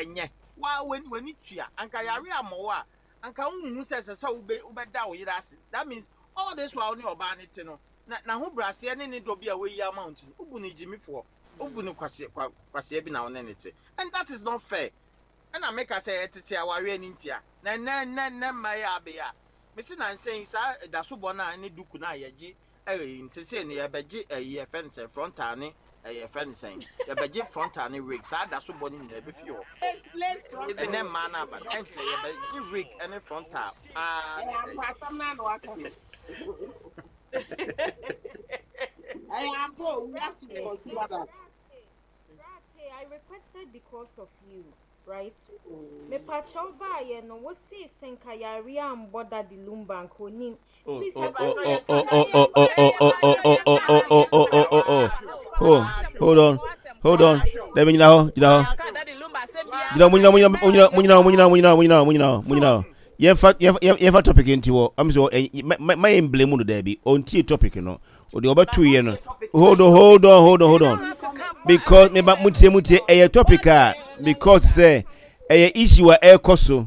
Ɛnyɛ. Waa w'ani w'ani tua. Anka yare ammɔ wo a, anka wonhu sɛ ɛsɛ sɛ wobɛ wobɛda wo yere ase. That means all this while wo ne ɔbaa no te no, na n'ahobrɛaseɛ ne ne dɔ bi a wayi ama wo nti no, wobu no gyimifoɔ. Wobu no kwasea kwa kwasea bi na wo ne no te. And that is not fair. Ɛna meka sɛ ɛtete awareɛ no ntia. Na ɛnnɛ nnɛ nnɛ mma yi a abɛyi a, mese nansa yi saa dasobɔ no a ne duku no a yɛgye ɛyi no sesei no yɛbɛgye ɛyi yɛfrɛ no sɛn frontal ne ɛyi yɛfrɛ no sɛn yɛbɛgye frontal ne wig saa dasobɔ no nyinaa ɛbɛfi hɔ. Ɛnnɛ mmaa no aba no ɛnkyɛ yɛbɛgye wig ne frontal paa ne ɛyi. Ɛyɛ ampa o, we have to consider that. Brate, I requested because of you, right? Mepakyɛw baayɛ no, wo see sɛ nka yare ambɔ Daddy Lumba nka onim. Please, Oh, oh, oh, oh, oh, oh, oh, oh, oh, oh, oh, oh, oh, oh, oh, oh, oh, oh. Oh, hold on, hold on. Let me gyina hɔ, gyina hɔ. Gyina hɔ, mo nyina, mo nyina, mo nyina, mo nyina, mo nyina, mo nyina, mo nyina, mo nyina, mo nyina hɔ. Yɛmfa, yɛmfa, yɛmfa topic nti hɔ. Am sɛ, ɛ, ma yɛn blame no daabi. Ɔntie topic no. Ɔde ɔbɛto yɛ no. Hold on, hold on, hold on, hold on. Because me ba mutie mutie ɛyɛ topic a because sɛ ɛyɛ issue a ɛrekɔ so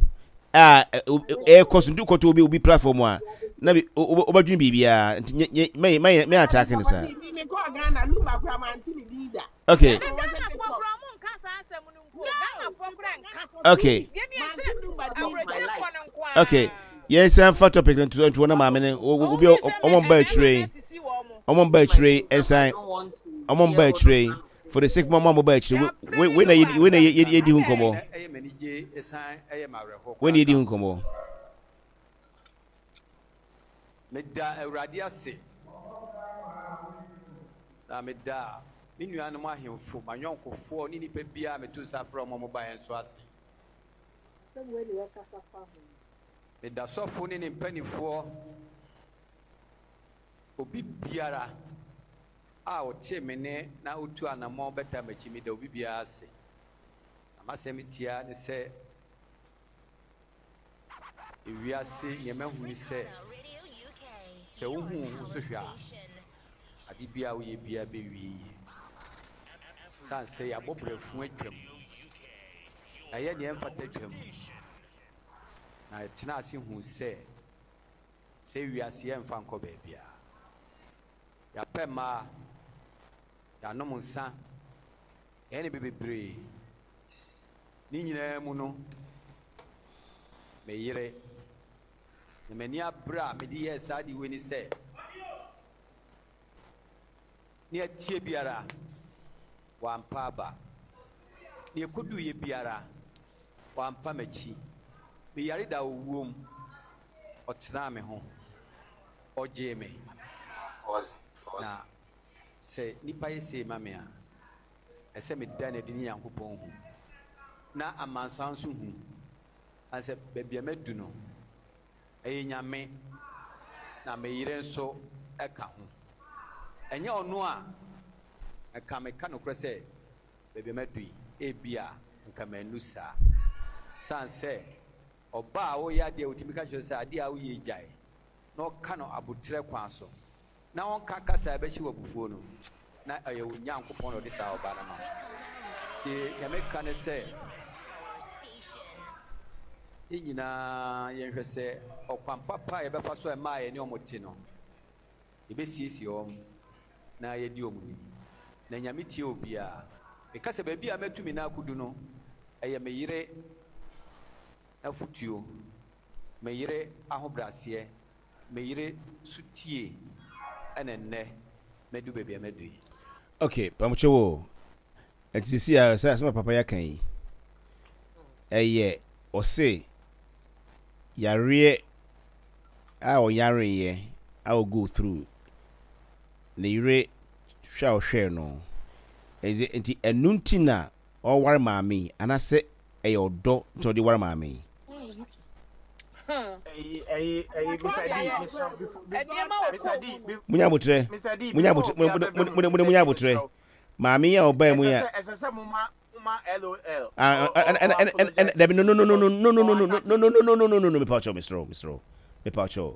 a ɛrekɔ so nti kɔtɔ obi obi platform a na bi wobɛdwene biribiara nti nye nye mɛ mɛ mɛ attack ne saa. Okay. Okay. Okay. Yɛn san fa topic no nto nto na maame no obi ɔmo mba akyire yi ɔmo mba akyire yi ɛsan ɔmo mba akyire yi for the sake mo mo ba akyire we we na we na yɛ di ho nkɔmɔ we na yɛ di ho nkɔmɔ. Meda Awurade ase na meda me nuanom ahemfo, m'ayɔnkofoɔ ne nnipa biara a meto nsa frɛ wɔn a wɔbaeɛ nso ase. Meda sɔfo ne ne mpanimfoɔ, obi biara a ɔtee me nne na ɔtuu anammɔn bɛtaa m'akyi, meda obi biara ase. Na m'asɛm tiaa ne sɛ, Ewiase nea mahu ne sɛ, sɛ wohu wo ho so hwɛ a, ade biara a woyɛ biara bɛwie yie. Sane sɛ yɛabɔ brɛfo atwam, yɛayɛ nea ɛmfata atwam, na yɛtena ase hu sɛ, sɛ wiase yɛmfa nkɔ baabiara. Yɛapɛ mmaa, yɛanom nsa, yɛayɛ nneɛma bebree. Ne nyinaa mu no, me yere, na m'ani abere a mede yɛɛ saa ade wei ne sɛ, nea ɛteɛ biara, wampa aba. Nea ɛkɔduiɛ biara, wampa m'akyi. Meyare da owuo mu, ɔtenaa me ho, ɔgyee me. Na sɛ nnipa yɛ sei ma me a, ɛsɛ meda no adi ne Nyankopɔn hu, na amansan nso hu, na sɛ baabi a madu no, ɛyɛ Nyame, na me yere nso ka ho. Ɛnyɛ ɔno a, nka meka nokorɛ sɛ baabi a madu yi, ebia nka mannu saa. Sane sɛ ɔbaa a ɔreyɛ adeɛ a ɔtumi ka kyerɛ wo sɛ adeɛ a woyɛ yi gyae, na ɔka no aboterɛ kwan so, na ɔnka kasa a ɛbɛhyɛ wo abufuo no, na ɛyɛ wo Nyankopɔn na ɔde saa ɔbaa no ama wo. Nti deɛ meka ne sɛ, yɛn nyinaa yɛnhwɛ sɛ ɔkwan papa a yɛbɛfa so a mmaa a yɛne wɔn te no, yɛbɛsiesie wɔn na yɛadi wɔn ni. Na Nyame tie obiara. Meka sɛ baabi a matu me nan akɔdu no, ɛyɛ me yere afotuo, me yere ahobrɛaseɛ, Me yere so tie ɛna nnɛ madu baabi a madu yi. Ok pamokyɛw o ɛnti sisi a sɛ asɛm a papa yi aka yi ɛyɛ ɔse yareɛ a ɔyareeɛ a ɔ go through ne yere hwɛ a ɔhwɛɛ no ɛnti nti ɛno nti na ɔware maame yi anasɛ ɛyɛ ɔdɔ nti ɔde ware maame yi. Munya abotrɛ, munya abotrɛ, munya munya abotrɛ. Maame yi a ɔbaa mu yi a. Ah, ɛna dabi no no no no no no no no no no no no no no no no mepa kyɛw mesrɛ mesrɛ mepa kyɛw.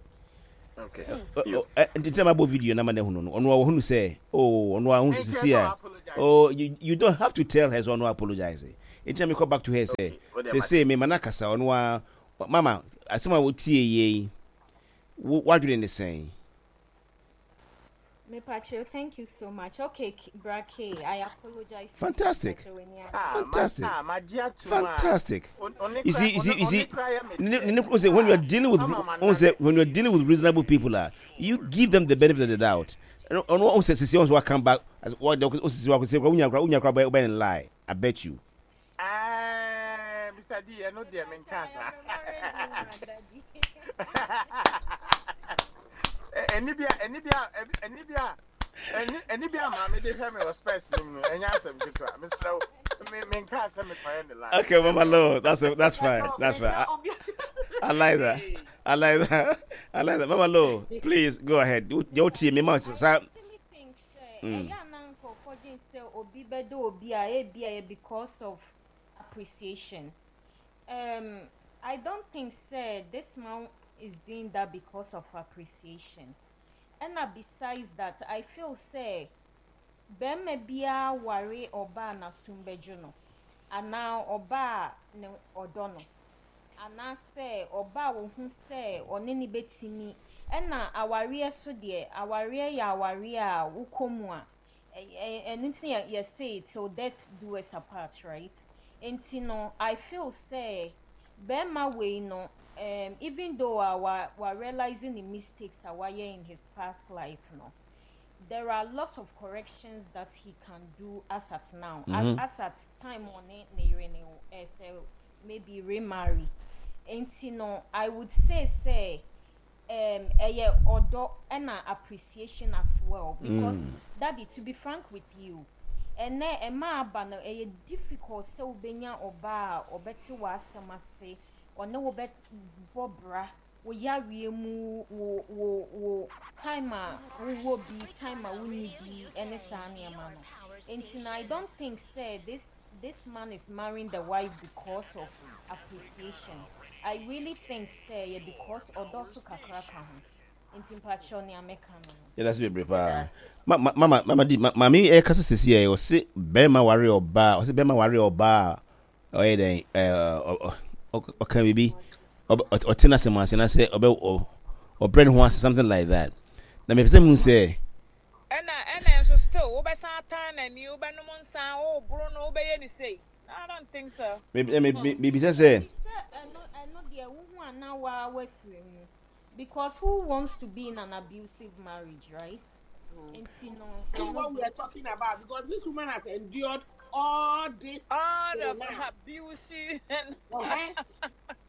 Nti na mabɔ video na ma na ehunu no ɔno a ɔhunu sɛ oh ɔno a ɔhunu sisi a oh you, you don't have to tell her so ɔno apologize. Enti na mekɔ back to her sɛ seesei mema no akasa ɔno ara mama asɛm a wotie yɛ yi wo w'adwene ne sɛn? Mepakyɛw thank you so much okay bra K I apologize Fantastic. Fantastic. Fantastic. You see, you see, you see, when you are dealing with when you are dealing with reasonable people, uh, you give them the benefit of the doubt. Ɔno ɔn sɛ sisi ɔn sɛ wa come back as what the osisi wa sɛ unya kura unya kura bɛ bɛ lie. I bet you. Eh, Mr. D, ɛno deɛ menka saa. Ɛni bi a, ɛni bi a, ɛni bi a, ɛni ɛni bi a maame de hwɛ me wɔ spɛs nim no, ɛnyɛ asɛm ketewa. Mesrɛ wo, me menka sɛ mekɔyɛ ne lie. Okay, Mama Lo, that's a, that's fine. That's fine. I like that. I like that. I like that. Mama Lo, please go ahead. Your team, me ma sa. Ɛyɛ a na nkurɔfoɔ dwen sɛ obi bɛdɔ obi a ebia ɛyɛ because of appreciation. Um, I don't think sɛ this man is doing that because of appreciation. Ɛna besides that, I feel sɛ barima biara ware ɔbaa a n'asom bɛdwo no anaa ɔbaa a ne ɔdɔ no. Anaasɛ ɔba a ohu sɛ ɔne no bɛtumi. Ɛna awareɛ so deɛ, awareɛ yɛ awareɛ a wokɔ mu a, ɛno nti na yɛse till death do us apart, right? Nti no, I feel sɛ bɛrima wei no, um, even though a wa, wa realise ne mistakes a wayɛ in his past life no, there are lots of corrections that he can do as at now, mm -hmm. as, as at time ɔne ne yere no, eh, sɛ maybe remarry nti no I would say sɛ um, ɛyɛ ɔdɔ ɛna appreciation as well because mm. daddy to be frank with you ɛnɛ ɛma aba no ɛyɛ difficult sɛ wobɛnya ɔbaa a ɔbɛte w'asɛm ase ɔne wo bɛbɔ bra wo yareɛ mu wo wo wo time a wowɔ bi time a wonni bi ɛne saa nneɛma no nti no I don't think sɛ this this man is marrying the wife because of appreciation I really think sɛ ɛyɛ because ɔdɔ so kakra ka ho nti mpakyɛw nea mɛka no no. Yɛda ase bebree paa. Ma ma mama mama di ma maame yi ɛkasa sisi ɛ ɔse bɛrima ware ɔbaa ɔse bɛrima ware ɔbaa a ɔyɛ dɛn ɛɛ ɔka biribi ɔte n'asɛm ase na sɛ ɔbɛ ɔbrɛ ne ho ase something like that na mepɛ sɛ mu sɛ Ɛna ɛna nso still wobɛsan atan n'ani, wobɛnom nsa, woboro no, wobɛyɛ no sei. I don't think so. Me me me mebisa sɛ. Sɛ ɛno ɛno deɛ wohu a na waa wafiri mu because who wants to be in an abusive marriage right? Nti no. See what we are talking about because this woman has endured all this. All of abuse and. Uh-huh.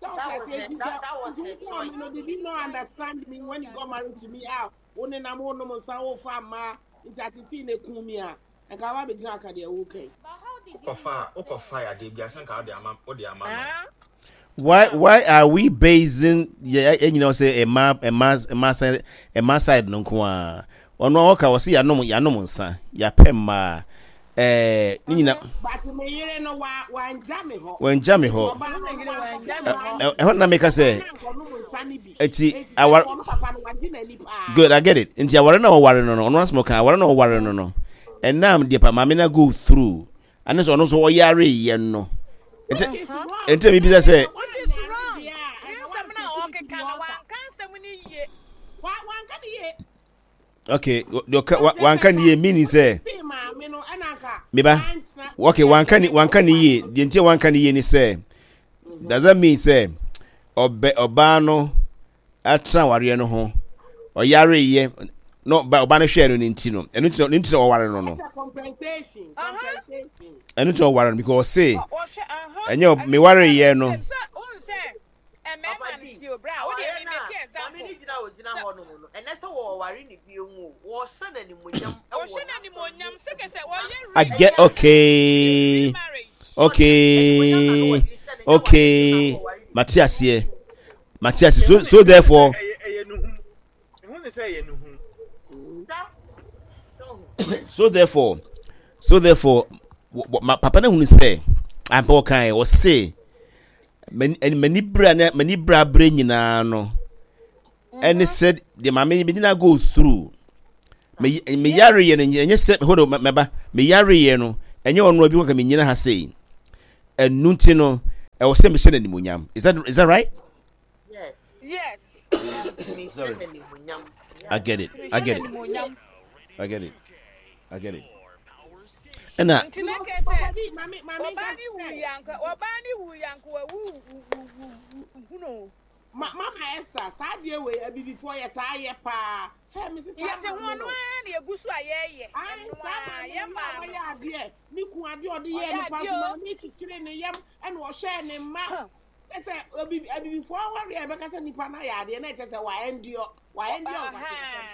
That was her, that, that was her choice. Did you not understand me when you got married to me? Ah, Wo nenam wo nom nsa wo fa mmaa nti atetee na ekum me a nka waba abɛgyina aka deɛ woka yi. Wokɔfa wokɔfa adeɛ bi a sɛ nka wode ama wode ama no. Why why are we basing yɛ yɛ nyinaa sɛ ɛma ɛma ɛma side ɛma side no nko ara ɔno ɔka ɔsɛ yanom yanom nsa yapɛ mmaa ɛɛ ne nyina. But me yere no wa wangya me hɔ. Wangya me hɔ. Ɛhɔ na meka sɛ nti aware good I get it nti aware na ɔware no no ɔno asɛm ɔka aware na ɔware no no ɛnam deɛ pa maame na go through ɛne sɛ ɔno nso ɔyare yɛ no nti nti mi bisa sɛ. Which is wrong. Ne nsɛm na ɔkeka no wanka nsɛm no yie. Wanka ne yie. okay deɛ ɔka wanka ne yie meaning sɛ meba okay wanka ne wanka ne yie deɛ nti wanka ne yie ne sɛ does that mean sɛ ɔbɛ ɔbaa no atena awareɛ no ho ɔyareyɛ na ɔba ɔba no hwɛɛ no ne nti no ɛno nti ne nti na ɔware no no ɛno nti na ɔware no because ɔse ɛnyɛ mewareyɛ no. Mmarima no tie o bra wo deɛ me make example. Maame no gyina a ogyina hɔ nom no ɛnɛ sɛ wɔware ne bio mu o wɔhyɛ no animuonyam wɔ Wɔhyɛ no animuonyam sɛ kɛ sɛ wɔyɛ I get okay okay okay mate aseɛ mate ase so so therefore. So therefore so therefore ma papa no hunu sɛ ampa ɔkae ɔse m'ani bere ne m'ani bere abere nyinaa no ɛne sɛ deɛ maame me nyinaa go through me me yare yɛ no ɛnyɛ sɛ hold on mɛba me yare yɛ no ɛnyɛ ɔno bi kɔka me nyina ha sei. Ɛno nti no, ɛwɔ sɛ mehyɛ no animuonyam. Is that right? Yes. Yes. Sorry. I get it. I get it. I get it. I get it. Ɛna. Nti na kɛ sɛ ɔbaa ne wu yanka ɔbaa ne wu yanka wawu hunu. Mama Esther, saa adeɛ wei abibifoɔ yɛ taa yɛ paa. Hɛ me sisa. Yɛte ho ɔno ara na egu so a yɛyɛ. Ayi saa maame no a wɔyɛ adeɛ ne kun adeɛ ɔde yɛ nipa so maame kyekyere ne yam ɛna ɔhyɛ ne mma. Kyɛ sɛ abibifoɔ awareɛ a yɛbɛka sɛ nipa no ayɛ adeɛ na ɛkyɛ sɛ wa endure wa endure nkwaseasɛm.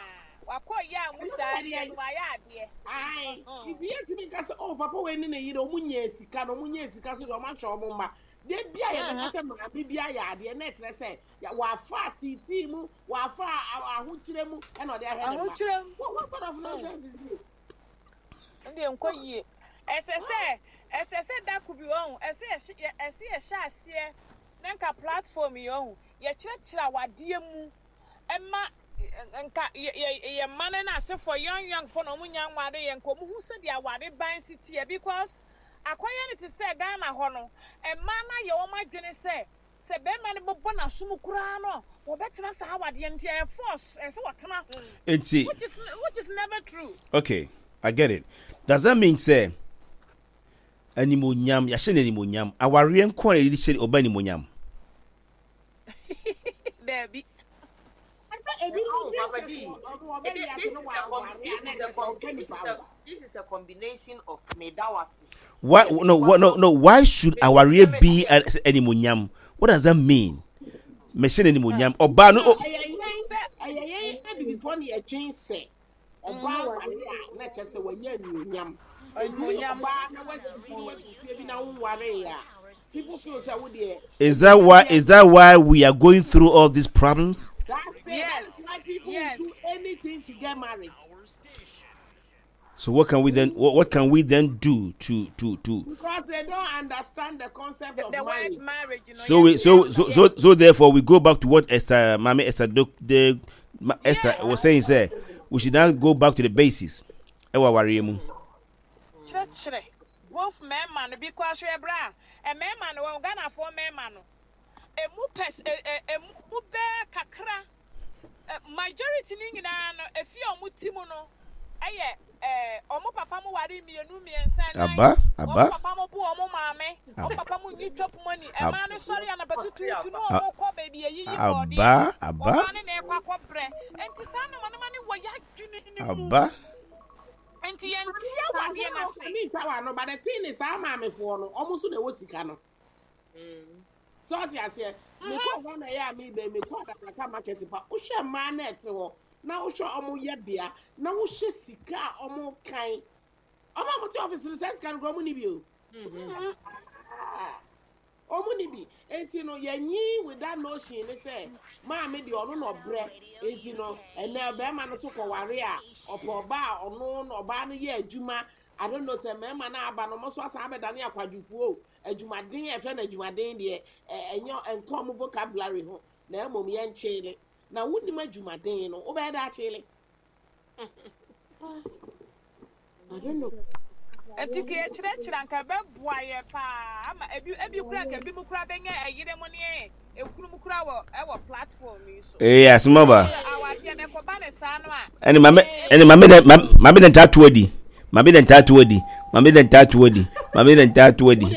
Wakɔ yɛ a mu saa deɛ so wayɛ adeɛ. Ae nti yɛntumi nka sɛ oh papa wei ne ne yere ɔmo nyaa sika na ɔmo nyaa sika so deɛ ɔmo ahwɛ ɔmo mma. Da bi a yɛbɛka sɛ maame bi ayɛ adeɛ na ɛkyerɛ sɛ wafa ateetee mu wafa ahokyerɛ mu ɛna ɔde ahwɛ ne mma. What sort of nonsense is this? Ɛndeɛ nkɔ yie. Ɛsɛ sɛ ɛsɛ sɛ da ko bi wahu ɛsɛ yɛhyɛ ɛsɛ yɛhyɛ aseɛ na nka platform yi wahu yɛkyerɛkyerɛ awadeɛ mu ɛma nka yɛ yɛ yɛ mma no ne asefoɔ young young foɔ na wɔn nya nware yɛ nka wɔn hu sɛdeɛ aware ban si teɛ because akɔyɛ no te sɛ Ghana hɔ no mmaa no ayɛ wɔn adwene sɛ Sɛ bɛrima no bɛbɔ n'asom koraa no a, wɔbɛtena saa awadeɛ no nti ɛyɛ force, ɛsɛ sɛ wɔtena ho. Nti. Which is which is never true. Okay, I get it. Does that mean sɛ animuonyam, yɛahyɛ no animuonyam, awareɛ nko ara na yɛde hyɛ ɔba animuonyam? Daabi. Papa D, this is a combination of medawase. Why no no no why should awareɛ be animuonyam? What does that mean? Mehyɛ no animuonyam. Ɔbaa no. Ɛyɛ yɛn abibifoɔ na yɛdwen sɛ ɔbaa ware a na kyerɛ sɛ wanya anuonyam. Ebi ɔbaa na wasi na wasi fie bi na wonwaree a people feel sɛ wo deɛ. Is that why is that why we are going through all these problems? That's it. Yes. That is why people yes. do anything to get married. So what can we then what, what can we then do to to to Because they don't understand the concept the, of the marriage. word marriage. You know, so we so so so so therefore we go back to what Esther Mami Esther Dok the Esther was saying say we should now go back to the basis. Ewa wareɛ mu. Kyerɛkyerɛ both mmarima no because hwɛ bra mmarima no wɔn Ghanafoɔ mmarima no emu pɛs ɛ ɛ emu bɛɛ kakra Majority no nyinaa no efie a wɔn te mu no yɛ ɛɛ wɔn papa mo ware mmienu mmiɛnsa nnan Aba, aba. wɔn papa mo bo wɔn maame wɔn papa mo nyi chop money ɛmaa no sɔre anapa tutuutu ne wɔn kɔ baabi yɛyiyi bɔɔdeɛ Aba, aba. ɔbaa no na ɛkɔ akɔ brɛ nti saa nneɛma nneɛma no wɔ yɛadwene no mu Aba. nti yɛnte awadeɛ no ase. Me ntwa w'ano but the thing is saa maamefoɔ no wɔn nso na ɛwɔ sika no. Sɛ ɔte aseɛ, mekɔ hɔ na ɛyɛ a mebɛ mekɔ adabraka market pa wohwɛ mmaa na ɛte hɔ na wohwɛ ɔmo yɛ bea na wohwɛ sika a ɔmo kan ɔmo a ɔmo te office no sɛ sika no kora ɔmo ni bi o ɔmo ni bi eti no yɛnyi with that notion ne sɛ maame deɛ ɔno na ɔbrɛ eti no ɛnɛ bɛrima no to kɔware a ɔpɛ ɔbaa a ɔno na ɔbaa no yɛ adwuma I don't know sɛ mmarima no aba no ɔmo nso asan abɛdane akwadwofoɔ o Adwumaden a yɛfrɛ no adwumaden deɛ, ɛnyɛ ɛnka wɔn vocabulary ho, na mmom yɛnkyeele. Na wonnim adwumaden no, wobɛyɛ dɛ akyeele? I don't know. Nti ka yɛkyerɛkyerɛ anka ɛbɛboa yɛ paa ama ebi ebi kura anka ebi mu kura bɛnya ɛyere mu ne ekunu mu kura wɔ ɛwɔ platform yi so. Ee asɛm aba. Awadeɛ no ɛkɔba ne saa no a. Ɛne maame ɛne maame dɛ maame dɛ ntaa to adi. Maame dɛ ntaa to adi. Maame dɛ ntaa to adi. Maame dɛ ntaa to adi.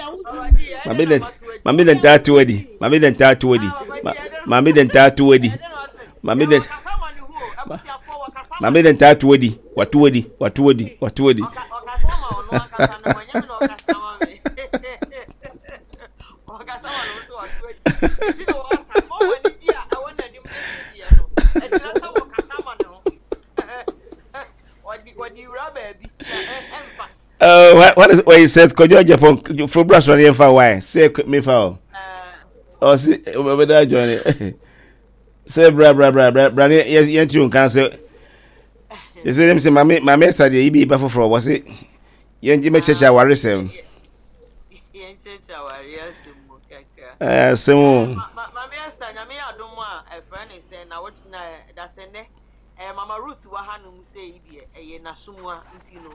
Maame dɛ maame dɛ ntaa to adi. Maame dɛ ntaa to adi. Maame dɛ ntaa to adi. Maame dɛ maame dɛ ntaa to adi. Wato adi. Wato adi. Wato adi. Uh, what, what is what he said? Kojo Japan for brush on fa why? Say me fa. Oh, see, whether join it. Say bra bra bra bra bra yes yes you can say. Say say them say mami mami study yi bi ba for for was it? Yen ji me cheche aware sem. Yen cheche aware sem kakra. Eh sem o. Mami Esther nyame ya dom a e friend is na what na da sɛ nɛ Eh, Mama Ruth wɔ hanom sei yi deɛ, ɛyɛ n'asomuwa nti no,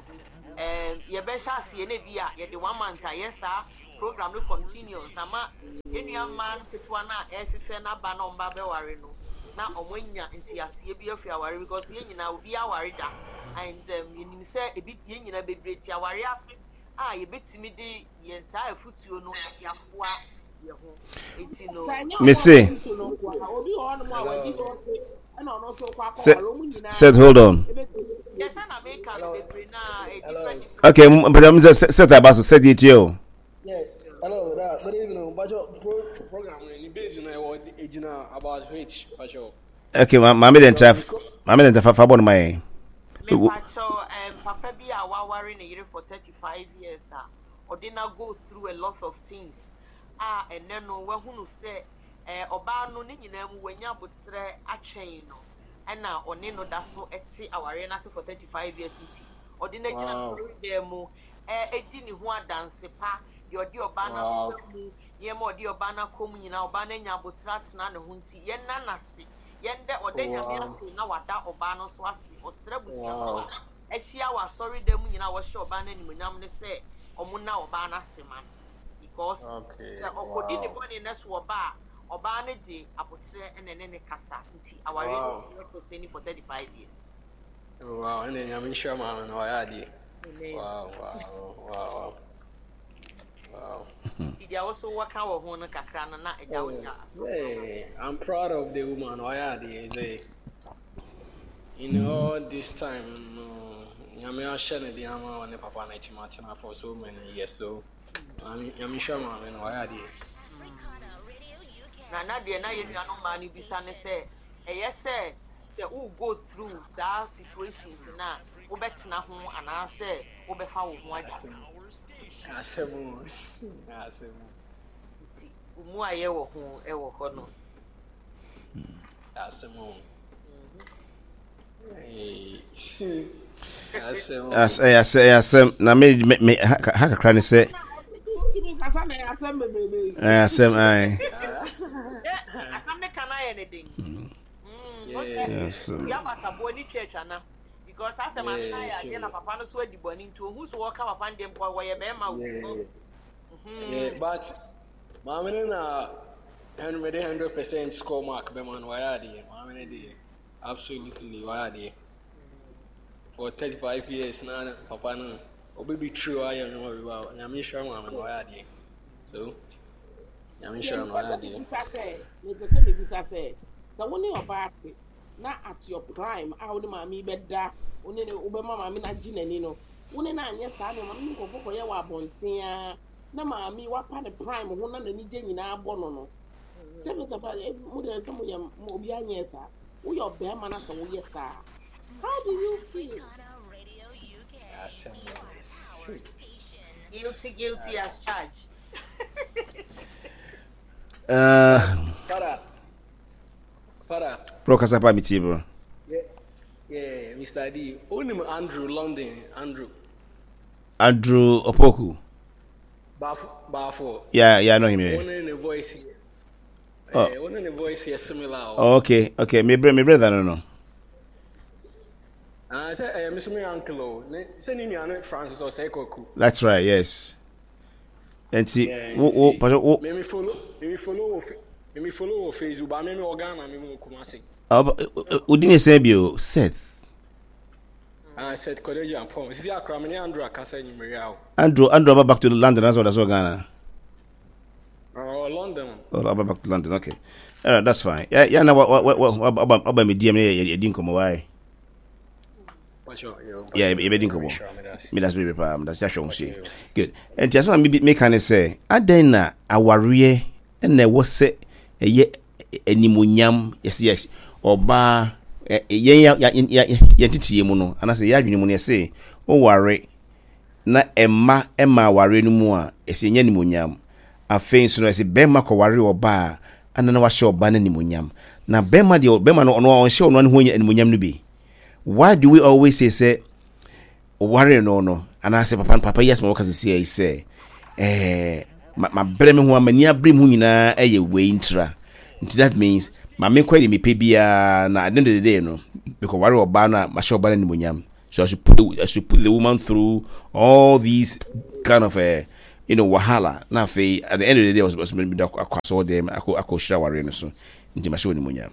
eh, yɛbɛhyɛ aseɛ na ebi a yɛde one month ayɛ saa program no continuous ama yɛn nua mmaa nketewa no a ɛrehwehwɛ n'aba na wɔn ba bɛware no na wɔn anya nteaseɛ bi afiri aware because yɛn nyinaa obi aware da and um, yɛnim sɛ ebi yɛn nyinaa bebree te aware ase a yɛbɛtumi de yɛn saa afutuo no de aboa yɛn ho nti no. Mese. Sɛ Seth hold on. Okay, mpɛsɛ mi sɛ Seth aba so Seth yɛ tie o. Yeah, hello, da, good evening. Bajo, pro, program ni base na ɛwɔ egyina about which, bajo. Okay, ma maame de ntra, maame de ntra fa fa bɔ no ma yɛn. Mepacho, um, papa bi a waware ne yere for 35 years a ɔde na go through a lot of things a ɛnɛ no wahunu sɛ eh, ɔbaa no ne nyinaa mu wanya aboterɛ atwɛn no ɛna ɔne no da so te awareɛ no ase for 35 years nti ɔde no agyina asɔredan mu ɛdi ne ho adanse pa deɛ ɔde ɔbaa no afa mu nneɛma ɔde ɔbaa no akɔ mu nyinaa ɔbaa no anya aboterɛ atena ne ho nti yɛnna no ase yɛndɛ ɔda Nyame ase na wada ɔbaa no nso ase ɔsrɛ abusuafoɔ a ahyia wɔ asɔredan mu nyinaa a wɔhyɛ ɔbaa no animuonyam no sɛ ɔmo nna ɔbaa no ase ma no because sɛ ɔkɔdi ne bɔne no so ɔba a ɔbaa no de aboterɛ na ɛne ne kasa nti awareɛ no tumi sustaining for 35 years. Wow, ɛnna Nyame nhyira maame no ɔyɛ adeɛ. Wow, wow, wow, wow. Nti deɛ wo so wɔka wɔ ho no kakra no na agya wo nya asɔfo. Hey, I'm proud of the woman ɔyɛ adeɛ sɛ in all this time no Nyame ahyɛ ne de ama ɔne papa no akyi matena for so many years so Maame, Nyame nhyira maame no, wayɛ adeɛ. Na na deɛ na yɛn nuanom mmaa no bisa ne sɛ, ɛyɛ sɛ sɛ wo go through saa situations no a, wobɛtena ho anaasɛ wobɛfa wo ho adwane? Asɛm o, asɛm o. Nti wo mu ayɛ wɔ ho wɔ hɔ no. Asɛm o. Ɛyɛ asɛm na me me me ha kakra ne sɛ. Ɛyɛ asɛm ayi. Asɛm ne kan ayɛ ne den. Yabataboɔ ne twa atwa na because asɛm ame na ayɛ adeɛ na papa no so adi bɔne nti ohun so wɔka papa no deɛ mpo wɔyɛ bɛrima wo. But maame no na mede 100% score mark bɛma no wayɛ adeɛ maame no deɛ. Absolutely wayɛ adeɛ for 35 years na papa no obi bi tiri hɔ ayɛ nneɛma bi ba nyame nhyira maame no wayɛ adeɛ so nyame nhyira no wayɛ adeɛ. Mepɛ sɛ mebisa sɛ sɛ wo ne ɔbaa te na at your prime a wo ne maame yi bɛda wo ne ne wobɛma maame no agye n'ani no wo ne no anyɛ saa nneɛma no ne nkurɔfoɔ kɔyɛ wɔ abɔnten a na maame yi wapa ne prime ho na n'ani gye nyinaa bɔ no no Sɛ me papa eh, mo deɛ sɛ moyɛ mo obi anyɛ saa. Woyɛ ɔbɛrima na sɛ woyɛ saa. How do you feel? Guilty, guilty as charged. Para. Para. Bro, kasa pa mi tie bro. Yeah, yeah, Mr. D. Onim Andrew London, Andrew. Andrew Opoku. Bafo Bafo. Yeah, yeah, I know him. Yeah. One in the voice. Oh. Eh, one in the voice is similar. Oh, oh okay, okay. Me brother, me brother, no, no. Ah, say, eh, Mr. Me uncle, oh, ne, say ni nua Francis or say Koku. That's right. Yes. And see, wo, wo, paso, wo. Me me follow, me me follow, me me follow Facebook, but me me organa, me me Kumasi. Oh, odi ne sɛ bio, Seth. Ah, Seth Kwadwo Agyapong. Sisi akora me ne Andrew akasa enyimire awo. Andrew, Andrew aba back to London, that's what that's what Ghana. Oh, London. Oh, aba back to London, okay. All right, that's fine. Yeah, yeah, na wa wa wa wa aba aba me DM yeah, yeah, di nkɔmɔ why? Yeah, yɛbɛdi nkɔmɔ. Me that's baby pa, me that's yɛahwɛ ho so. Good. Nti asɛm a me me ka ne sɛ, adɛn na awareɛ na ɛwɔ sɛ ɛyɛ animuonyam yɛsɛ yɛ ɔbaa yɛn yɛn teteɛ mu no anaasɛ yɛn adwene mu no yɛsɛ woware na ɛma ɛma awareɛ no mu a yɛsɛ ɛnyɛ animuonyam afei nso no yɛsɛ bɛrima kɔware ɔbaa ana na wahyɛ ɔbaa no animuonyam na bɛrima deɛ bɛrima no ɔno ɔnhyɛ ɔno ne ho animuonyam no bi why do we always say sɛ Ɔwaree no no, anaasɛ papa no papa yi asɛm a wɔka sisi yi sɛ ɛɛ ma mabrɛ me ho a m'ani abere me ho nyinaa ɛyɛ wei ntira nti that means ma menkɔ deɛ mepɛ biara na at the end of the day no mekɔware ɔbaa no a mahyɛ ɔbaa no animuonyam so I should put the, I should put the woman through all these kind of uh, you know wahala na afei at the end of the day ɔsɛ mede akɔ asɔɔ dɛm akɔ akɔ hyira awareɛ no so nti mahyɛ wɔ animuonyam.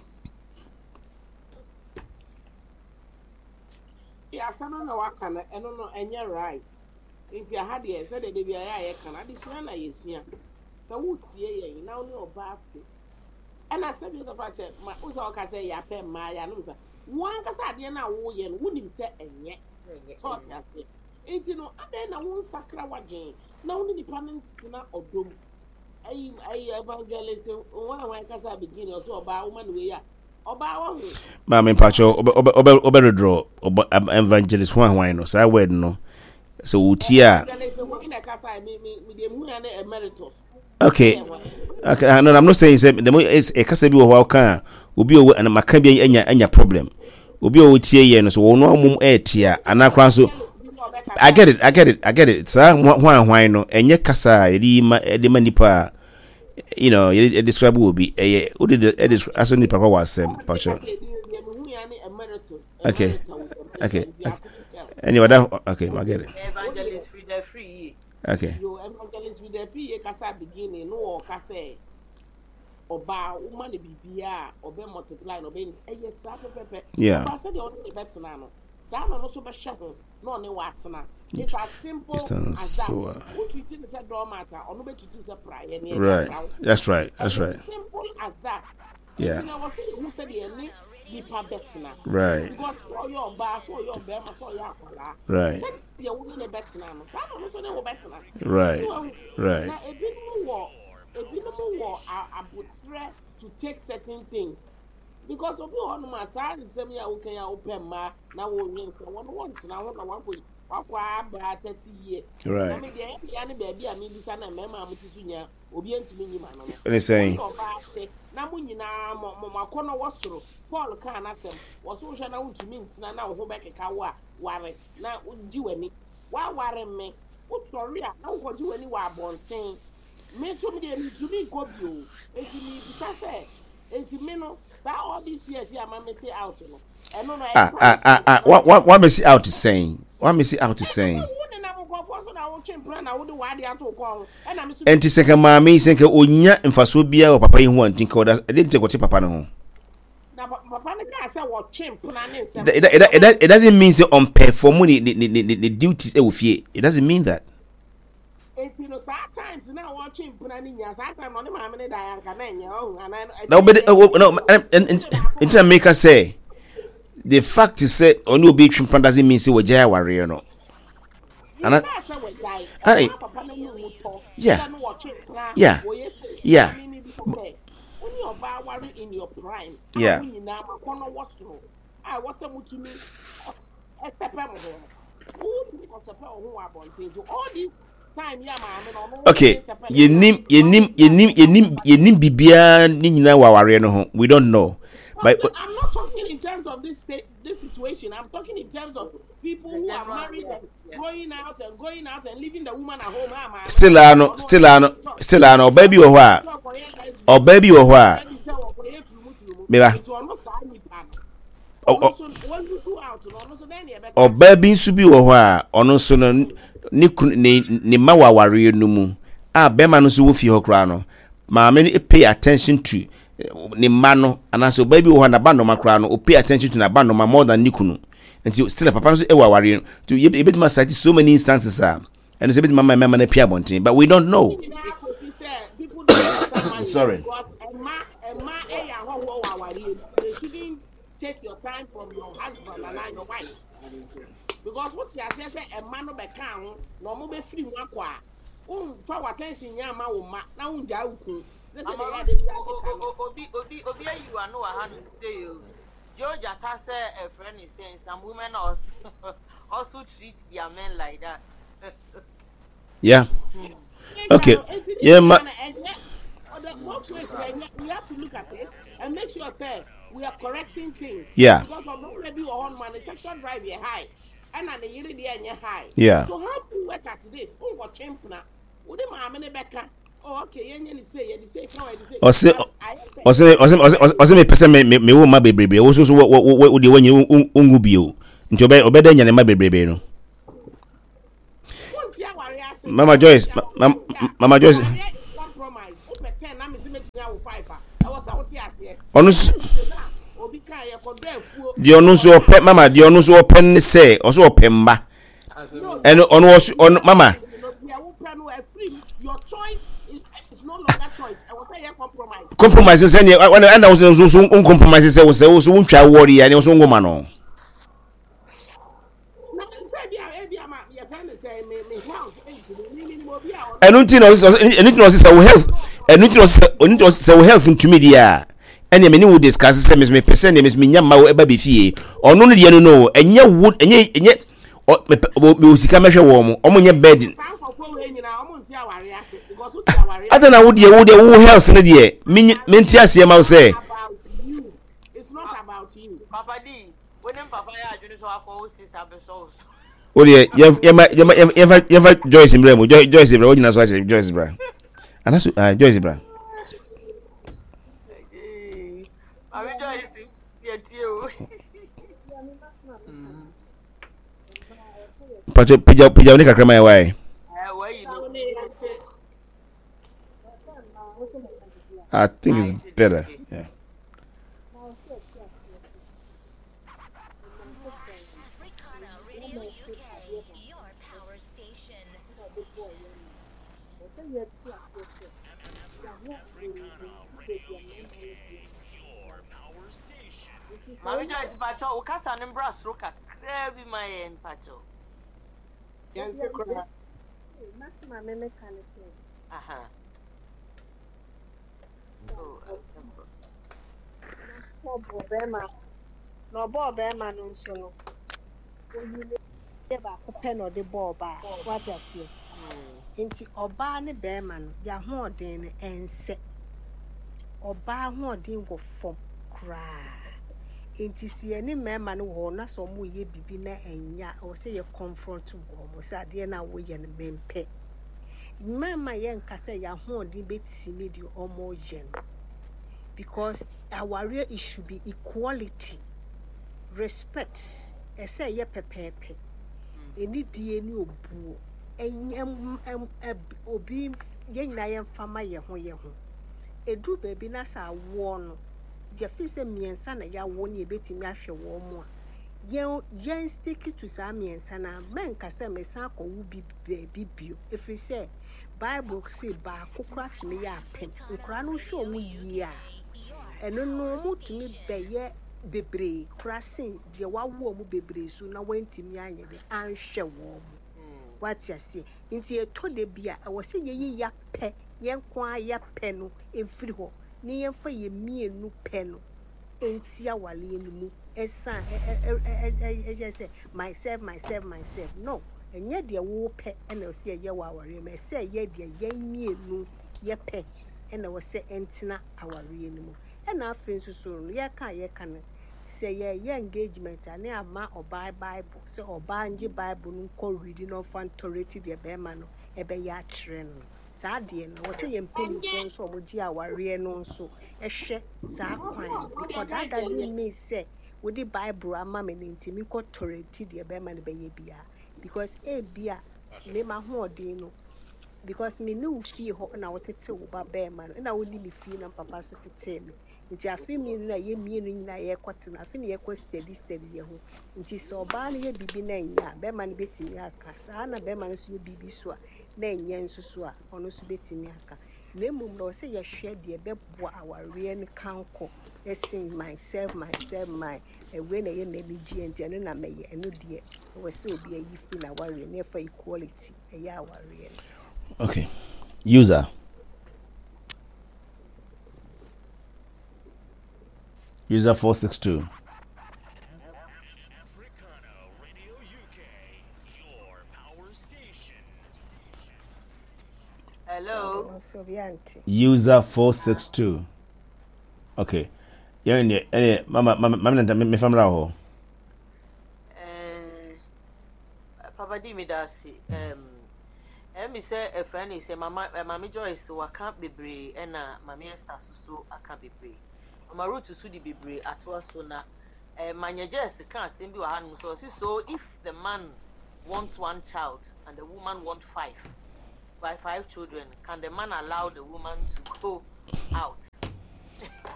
Asɛm no na waka no ɛno no ɛnyɛ right nti aha deɛ sɛdeɛ da biara yɛ a yɛka no adesua na yɛsua sɛ wotie yɛn na wo ne ɔbaa te ɛna sɛ bi sɛ kyɛ ma wo sɛ ɔka sɛ yɛapɛ mmaa yɛ anom sɛ wo ankasa adeɛ no a woyɛ no wonim sɛ ɛnyɛ sɛ ɔte aseɛ nti no adɛn na wonsakra w'adwene na wo ne nipa no ntena ɔdɔ mu ayi ayi evangelist wɔn a wɔn kasa beginning ɔsɛ ɔbaa woma no wei a ɔbaa wahu. Maame mpakyɛ ɔbɛ ɔbɛ ɔbɛ ɔbɛ redraw ɔbɛ evangelist hwan hwan no saa word no sɛ wotie a. Evangelist hwan na ɛkasa mi mi mi deɛ mu ya ne emeritus. Okay okay ah, no I'm not saying sɛ dɛm ɛkasa bi wɔ hɔ a ɔka a obi a ɔwɔ ɛna maka bi anya anya problem obi a ɔtie yɛ no so wɔn amom ɛɛte a anaa koraa nso I get it I get it I get it saa hwan hwan no ɛnyɛ kasa a yɛde yi ma ɛde ma nipa a you know yɛde describe wɔ bi ɛyɛ wode de ɛde asɔ nipa kɔ wɔ asɛm pakyɛ okay okay anyway that okay I get it. Evangelist Frida Free yie. Okay. Yo, Evangelist Frida Free yie kasa beginning no wɔ kasa ɔbaa woma no biribiara a ɔbɛ multiply na ɔbɛ ɛyɛ saa pɛpɛpɛ. Yeah. Ɔbaa sɛdeɛ ɔne ne bɛtena no saa na ɔno nso bɛhyɛ ho na ɔne watena. It's as simple as that. So, wo treat ne sɛ doormat a ɔno bɛ treat sɛ praeɛ ne ɛde right. apra wo. That's right. That's Ɛyɛ right. simple as that. Yeah. Nti na wɔsɛ yɛhu sɛdeɛ ɛne nipa bɛtena. Right. Because sɛ ɔyɛ ɔbaa sɛ ɔyɛ ɔbɛrima sɛ ɔyɛ akwadaa. Right. Sɛdeɛ wo ne ne bɛtena no saa na ɔno nso ne wo bɛtena. Right. So wahu. Right. Na ebinom wɔ ebinom wɔ abotrɛ to take certain things because obi wɔ hɔnom a saa nsɛm yi a woka yi a wopɛ mmaa na wonwen sɛ wɔn wɔntena ho na wakɔ wakɔ aba 30 years. Right. Na me deɛ ɛyɛ me ya ne baabi a mebisa na mmarima a mote so nyinaa obi ntumi nyi ma no no. Ɛne sɛn? Wo ne ɔbaa te na mo nyinaa mo mo akɔnnɔ wɔ soro. Paul kaa n'asɛm wɔ so wohwɛ na wontumi ntena na wo ho bɛkeka wo a ware na gye w'ani. Woaware me wosɔre a na wokɔgye w'ani wɔ abɔnten. Me nso me deɛ mentumi nkɔ bio. Enti mebisa sɛ, enti me no, saa all these years yi a ma mese out no, ɛno no, ɛyɛ Ah, ah, ah, ah, wa, wa, wa mesi out sɛn? Wa mesi out sɛn? Wo nenam nkurɔfoɔ so na wotwe mpena na wode w'ade ato wo kɔn ho, ɛna me nso Enti sɛ nka maame yi sɛ nka onya mfasoɔ biara wɔ papa yi ho a, nti nka ɔda, ɛdeɛ nti nka ɔte papa no ho? Na papa no kaa sɛ wɔtwe mpena ne nsɛm. It, it, it, it doesn't mean sɛ ɔmpɛfɔmu ne, ne, ne, ne, ne duties ɛwɔ fie. It doesn't mean that. Enti no saa times na wɔtwe mpena no nyinaa saa time na ɔne maame no da anka na ɛnyɛ ɔho anaa na wobɛde na nti na meka sɛ the fact sɛ ɔne obi twe mpena doesn't mean sɛ wɔgyae awareɛ no ana ana yeah yeah yeah yeah a ɛwɔ sɛ motumi ɛsɛpɛ mo ho no wotumi kɔsɛpɛ wo ho wɔ abɔnten so all this time yɛ maame no ɔno okay yɛnim yɛnim yɛnim yɛnim yɛnim biribiara ne nyinaa wɔ awareɛ no ho we don't know but I'm not talking in terms of this this situation I'm talking in terms of people who are married and going out and going out and leaving the woman at home. Still ano still ano still ano ɔbaa bi wɔ hɔ a ɔbaa bi wɔ hɔ a meba ɔbaa bi nso bi wɔ hɔ a ɔno nso no ne kunu ne ne mma wɔ awareɛ no mu a bɛrima no nso wɔ fie hɔ koraa no maame no pay attention to ne mma no anaasɛ ɔbaa bi wɔ hɔ a n'aba nnɔma koraa no o pay attention to n'aba nnɔma more than ne kunu nti still papa no nso wɔ awareɛ no nti yɛbɛtumi asate so many instances a ɛno sɛ ɛbɛtumi ama mmarima no apue abɔnten but we don't know. Sorry. Take your time from your husband and your wife because what you say sɛ ɛma no bɛka ho na ɔmo bɛfiri mu akɔ a womfa w'attention nyɛ ama wo mma na wongyaa wo kun sɛ sɛ deɛ yɛ ade bi akeka no. Obi obi obi ayi w'ano wɔ hanom sei o. Joe Jata sɛ ɛfrɛ ne sɛn some women also also treat their men like that. Yeah. Okay. Yeah, ma. We have to look at it and make sure that we are correcting things. Yeah. Because of already on man, the sexual drive is high. And the year the high. Yeah. So how do we work at this? Oh, what champion? Wode maame ne bɛka oh okay yɛnyɛ ne sei yɛde sei ka yɛde sei. Ɔse ɔse ɔse ɔse ɔse mepɛ sɛ me me wo mma bebrebe wo so so wo wo wo deɛ wɔnyɛ wongu bio nti ɔbɛ ɔbɛdɛ nya ne mma bebrebe no. Wonti aware ase. Mama Joyce, Mama Joyce. Ɔno nso deɛ ɔno nso ɔpɛ mama deɛ ɔno nso ɔpɛ ne sɛ ɔso ɔpɛ mma ɛno ɔno ɔso ɔno mama. Compromise sɛ neɛ ɛna ɛna ɔso nso nso ncompromise sɛ wosɛ wosɛ wontwa wɔre yɛ ɛna ɔso ngoma no. Ɛno nti na ɔsɛ ɛno nti na ɔsɛ sɛ wo health ɛno nti na ɔsɛ ɛno nti na ɔsɛ sɛ wo health ntumi deɛ a ɛnna me ne wo discuss sɛ me mepɛ sɛ ɛnna me nya mma wo ɛba bɛ fie ɔno no deɛ no no ɛnyɛ wo ɛnyɛ ɛnyɛ ɔ mepɛ wɔ sika mɛhwɛ wɔn mo wɔn nyɛ bed adɛn na wo deɛ wo deɛ wo health no deɛ me me nti aseɛ ma wo sɛ. Papa D, wo ne papa yɛ adwene sɛ wakɔ wo sis abɛsɔ wo so. Wo deɛ yɛma yɛma yɛfa yɛfa Joyce mbrɛ mu Joyce bra wo gyina so akyerɛ Joyce bra anaso ah Joyce bra. Maame Joyce yɛ tie o. Pacho pagya pagya wo ne kakra ma yɛ wae. I think it's better. Yeah. Maame Joyce mpakyɛw wo kasa no mbra soro kakraa bi ma yɛn mpakyɛw. Yɛnte koraa. Maame meka ne sɛ. Aha. Ɔbɔɔ bɛrima na ɔbɔɔ bɛrima no nso no, oyi ne yɛ baako pɛ na ɔde bɔɔ ɔbaa. Wate aseɛ? Nti ɔbaa ne bɛrima no, yɛahoɔden no ɛnsɛ. Ɔbaa ahoɔden wɔ fam koraa. Nti sɛ yɛne mmarima no wɔ hɔ na sɛ wɔreyɛ biribi na ɛnyɛ a, ɛwɔ sɛ yɛ confront wɔn sɛ adeɛ no a woyɛ no mempɛ. Mmarima yɛnka sɛ yɛn ahoɔden bɛtumi deɛ wɔreyɛ no because awareɛ it should be equality, respect, ɛsɛ ɛyɛ pɛpɛɛpɛ, anidie ne obuo, obi yɛn nyinaa yɛmfa ma yɛn ho yɛn ho. Ɛduru baabi na sɛ awoɔ no, yɛfeel sɛ mmiɛnsa na yɛawo ne yɛbɛtumi ahwɛ wɔn a, yɛn yɛn stick to saa mmiɛnsa no ara. Mɛnka sɛ mesan akɔwo bi baabi bio, ɛfiri sɛ Bible se baako koraa tumi yɛ apem. Nkwadaa no wohwɛ wɔn yie a, ɛno no wɔtumi bɛyɛ bebree koraa sen deɛ wawo wɔn bebree so na wantumi anyɛ dɛ anhwɛ wɔn. Wate aseɛ? Nti ɛtɔ da bi a, ɛwɔ sɛ yɛyi yɛapɛ, yɛn nko ara yɛapɛ no mfiri hɔ na yɛmfa yɛn mmienu pɛ no nti awareɛ no mu ɛsan ɛyɛ sɛ myself myself myself no ɛnyɛ deɛ wopɛ ɛna ɛwɔ sɛ yɛyɛ wɔ awareɛ mu ɛsɛ ɛyɛ deɛ yɛn mmienu yɛpɛ ɛna ɛwɔ sɛ ɛntena awareɛ no mu ɛna afei nso so no yɛka a yɛka no sɛ yɛyɛ engagement a ne ama ɔbaa bible sɛ ɔbaa ngye bible no nkɔ read na ɔmfa ntɔrɛti deɛ bɛrima no ɛbɛyɛ akyerɛ no. Saa deɛ no, ɛwɔ sɛ yɛn mpanimfoɔ nso a wɔgye awareɛ no nso hwɛ saa kwan no because that doesn't mean sɛ wode Bible ama me no nti menkɔ tolerate deɛ bɛrima no bɛyɛ biara because ebia me m'ahoɔden no because me ne wo fie hɔ na wotete wo ba bɛrima no na wonni me fie na papa nso tetee me nti afe mmienu na yɛ mmienu nyinaa yɛkɔte no afe na yɛkɔ steady steady yɛ ho nti sɛ ɔbaa no yɛ biribi na ɛnyɛ a bɛrima no bɛtumi aka saa na bɛrima no nso yɛ biribi so a na ɛnyɛ nso so a, ɔno nso bɛtumi aka. Na mmom no, ɛwɔ sɛ yɛhwɛ deɛ ɛbɛboa awareɛ no kankɔ sen myself, myself, my. Wei na ɛyɛ m'anigyeɛ nti ɛno na mɛyɛ. Ɛno deɛ, ɛwɔ sɛ obi ayi firi n'awareɛ na ɛfa equality ɛyɛ awareɛ no. Okay. User. User 462. Hello. User 462. Okay. Yeah, yeah, yeah. Mama, mama, mama, me, me family hɔ. Eh, Papa di mi da ase. Um, ɛmi sɛ ɛfrɛ ne sɛ mama eh, mame Joyce waka bebree ɛna mame Esther soso aka bebree. Mama Ruth so di bebree atoa so na Eh, Manyɛgyɛs ka asɛm bi wɔ hanom sɛ ɔse so if the man wants one child and the woman want five, by 5 children, can the man allow the woman to go out?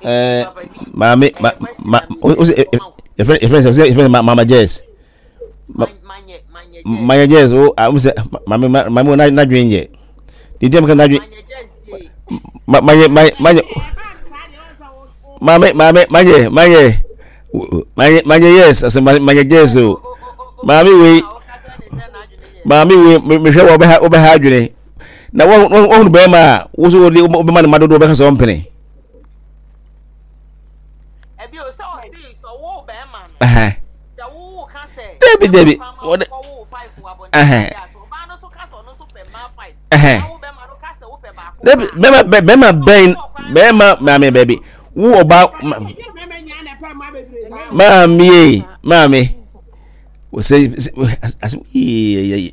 Eh, maame, ma, ma, o se, yɛfrɛ, yɛfrɛ sɛ, yɛfrɛ mama Jess. Manya Jess, o, a, o se, maame, maame, na, na dwen yɛ. Didi am ka na dwen. Manya, manya, maame, maame, manya, manya, manya, manya yes, ase manya Jess o. Maame wei, maame wei, mehwɛ wɔ bɛha, wobɛha adwene. Na wɔhunu bɛrima a, wo so wode wobɛma ne ma dodoɔ bɛka sɛ ɔmpene. Dabi dabi, wɔde dabi bɛrima bɛrima bɛn bɛrima maame baabi wo ɔba maame ye maame sɛ asɛm yie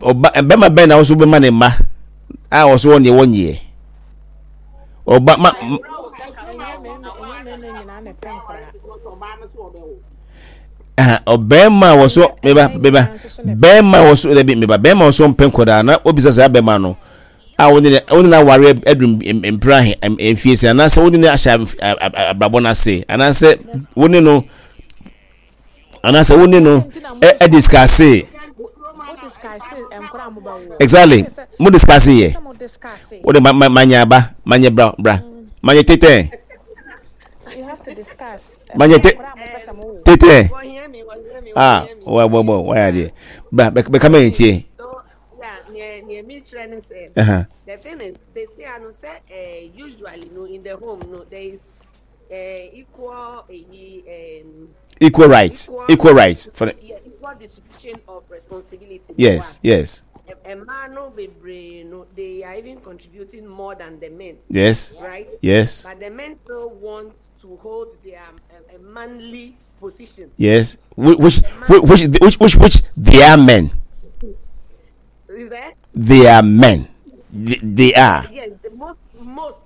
ɔba bɛrima bɛn na wɔso bɛma ne mma a wɔso wɔn deɛ wɔnyeɛ ɔba ma. Ɔbɛrima a wɔso meba meba bɛrima a wɔso ɛbi meba bɛrima a wɔso mpɛ nkɔdaa na obisa saa bɛrima no a wɔne ne wɔne na aware adum mpere ahe mfie sɛ anaasɛ wɔne ne ahyɛ abrabɔ no ase anaasɛ wɔne no anaasɛ wo ne no ɛ discuss exactly mo discuss yɛ wo de ma ma ma nyɛ aba ma nyɛ bra bra ma nyɛ tetɛ ma nyɛ te tetɛ ah wa bɔ bɔ wa yɛ adeɛ bra bɛ kama yɛn tie. Uh-huh. The thing is, they say, I know, say, uh, usually, no, in the home, no, there is equal equal rights equal, equal rights for the yeah, equal distribution of responsibility. Yes, yes. Mmaa no bebree no, they are even contributing more than the men. Yes. Right? Yes. But the men still want to hold their uh, manly position. Yes. Which which which which which they are men. Is that? They are men. They, they are. Yes, the most most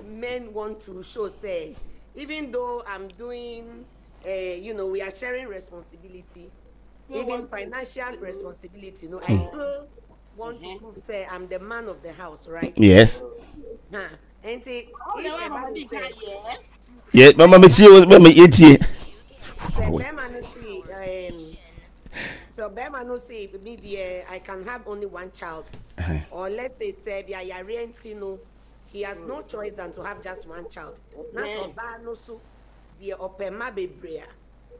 men want to show say, even though I'm doing, uh, you know, we are sharing responsibility, so even financial responsibility. You know, mm. I still want mm-hmm. to prove say I'm the man of the house, right? Yes. Huh. And say, if a man say, yes. Yeah, mama, me see, mama, etie. So bɛrima no se me deɛ I can have only one child uh-huh. or let's say sɛ bi ayareɛ nti no he has no choice than to have just one child. Na sɛ ɔbaa no so deɛ ɔpɛ mma bebree a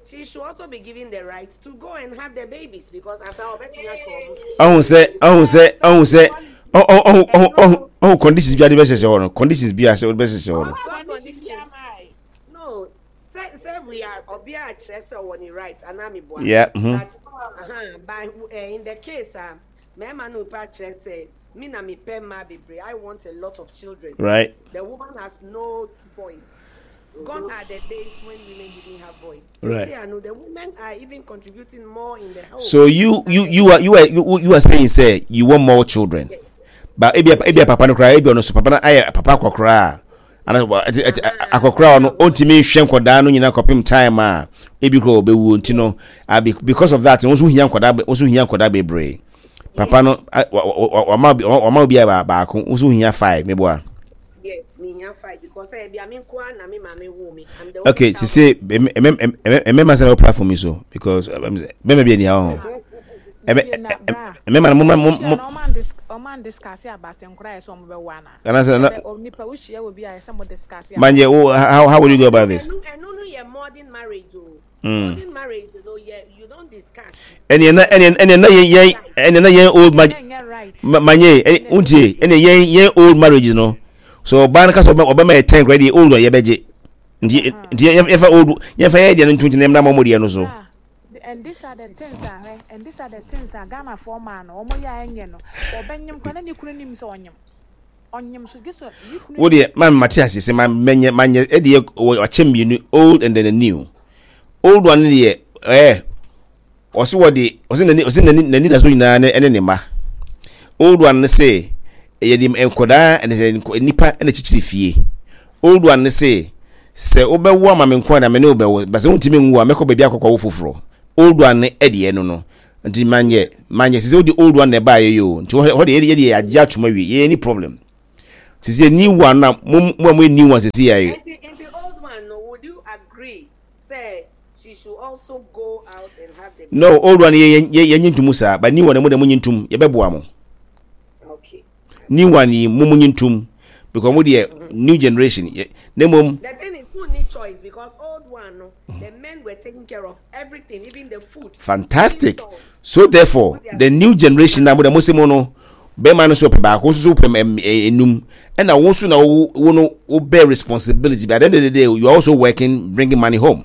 she should also be given the right to go and have the babies because after all ɔbɛtumi ahwɛ ɔmo. Ɔhun sɛ ɔhun sɛ ɔhun sɛ ɔhun ɔhun ɔhun ɔhun conditions bi a de bɛ hyehyɛ hɔ no conditions bi a de bɛ hyehyɛ hɔ no. No. Sɛ sɛ we are ɔbea a kyerɛ sɛ ɔwɔ ne right anaa me boa. Yeah. Mm -hmm. But uh -huh, but uh, in the case a uh, mmarima no pa kyerɛ sɛ me na me pɛ mmaa bebree I want a lot of children. Right. The woman has no voice. Gone are the days when women didn't have voice. Right. See, I know the women are even contributing more in the home. So you you you are you are you, you are saying say you want more children. Yes. But ebi ebi papa no kra ebi ono so papa na ayɛ papa akɔkora ana akɔkora no ɔntumi nhwɛ nkɔdaa no nyinaa kɔpem time a ebi kora ɔbɛwuo nti no because of that wɔn nso hia nkɔdaa wɔn nso hia nkɔdaa bebree papa no wama wama obi a baako wɔn nso hia five meboa. Yes, me hia five because eh bi ame nko na me maame wo me. I'm the Okay, sisi mmɛma sɛ na wɔ platform yi so because bɛma bi ani ha hɔ. Mmɛma no mo mo mo. Ɔman discuss about nkora yɛ sɛ ɔmo bɛ wɔ ana. Anaasɛ na manyɛ wo how how will you go about this? Ɛnìyɛn na ɛnìyɛn ɛnìyɛn na yɛn yɛn ɛnìyɛn na yɛn old marriage manyɛ ɛnì ntie ɛnìyɛn yɛn yɛn old marriage no so ɔbaa no kasa ɔbɛ ɔbɛma yɛ ten kura deɛ old one yɛbɛgye nti nti yɛn fa old yɛn fa yɛn deɛ no ntuntum na yɛn mma wɔn deɛ no so. And these are the things a hwɛ and these are the things a Ghana foɔ maa no wɔn yɛ a ɛnyɛ no ɔbɛnyem koraa na ne kunu nim sɛ ɔnyem ɔnyem so gye sɛ ne kunu. Wo deɛ maa mate ase sɛ ma mɛnyɛ manyɛ ɛdeɛ wakyɛ mmienu old and then the new old one deɛ ɛɛ ɔsi wɔde ɔsi n'ani ɔsi n'ani n'ani da so nyinaa ne ɛne ne mma old one ne se yɛde nkɔdaa ɛne sɛ nipa ɛna kyikyiri fie Old one no se, Sɛ wobɛwo ama me nko a na me ne wo bɛwo, but sɛ wontumi nwo a, mɛkɔ baabi akɔkɔwo foforɔ. Old one no deɛ no no. Nti manyɛ manyɛ sisi wode old one na ɛbaa yɛ yi o. Nti hɔ de yɛ de yɛagye atom awie. Yɛ any problem. Sisi new one na mo mo a mo yɛ new one sisi yɛ. Nti nti old one no would you agree sɛ she should also go out and have the baby? No old one yɛ yɛ yɛ nye ntum saa but new one mo de mo nye ntum yɛ bɛ boa mo. Okay. New one yi mo mo nye ntum because mo deɛ new generation yɛ ne mom. The thing is who need choice because old one no the men were taking care of everything even the food. Fantastic so therefore the new generation na mo de mo se mo no bɛrima no so ɔpɛ baako nso so pɛ enum ɛna wo nso na wo wo no wo bear responsibility but at the end of the day you are also working bringing money home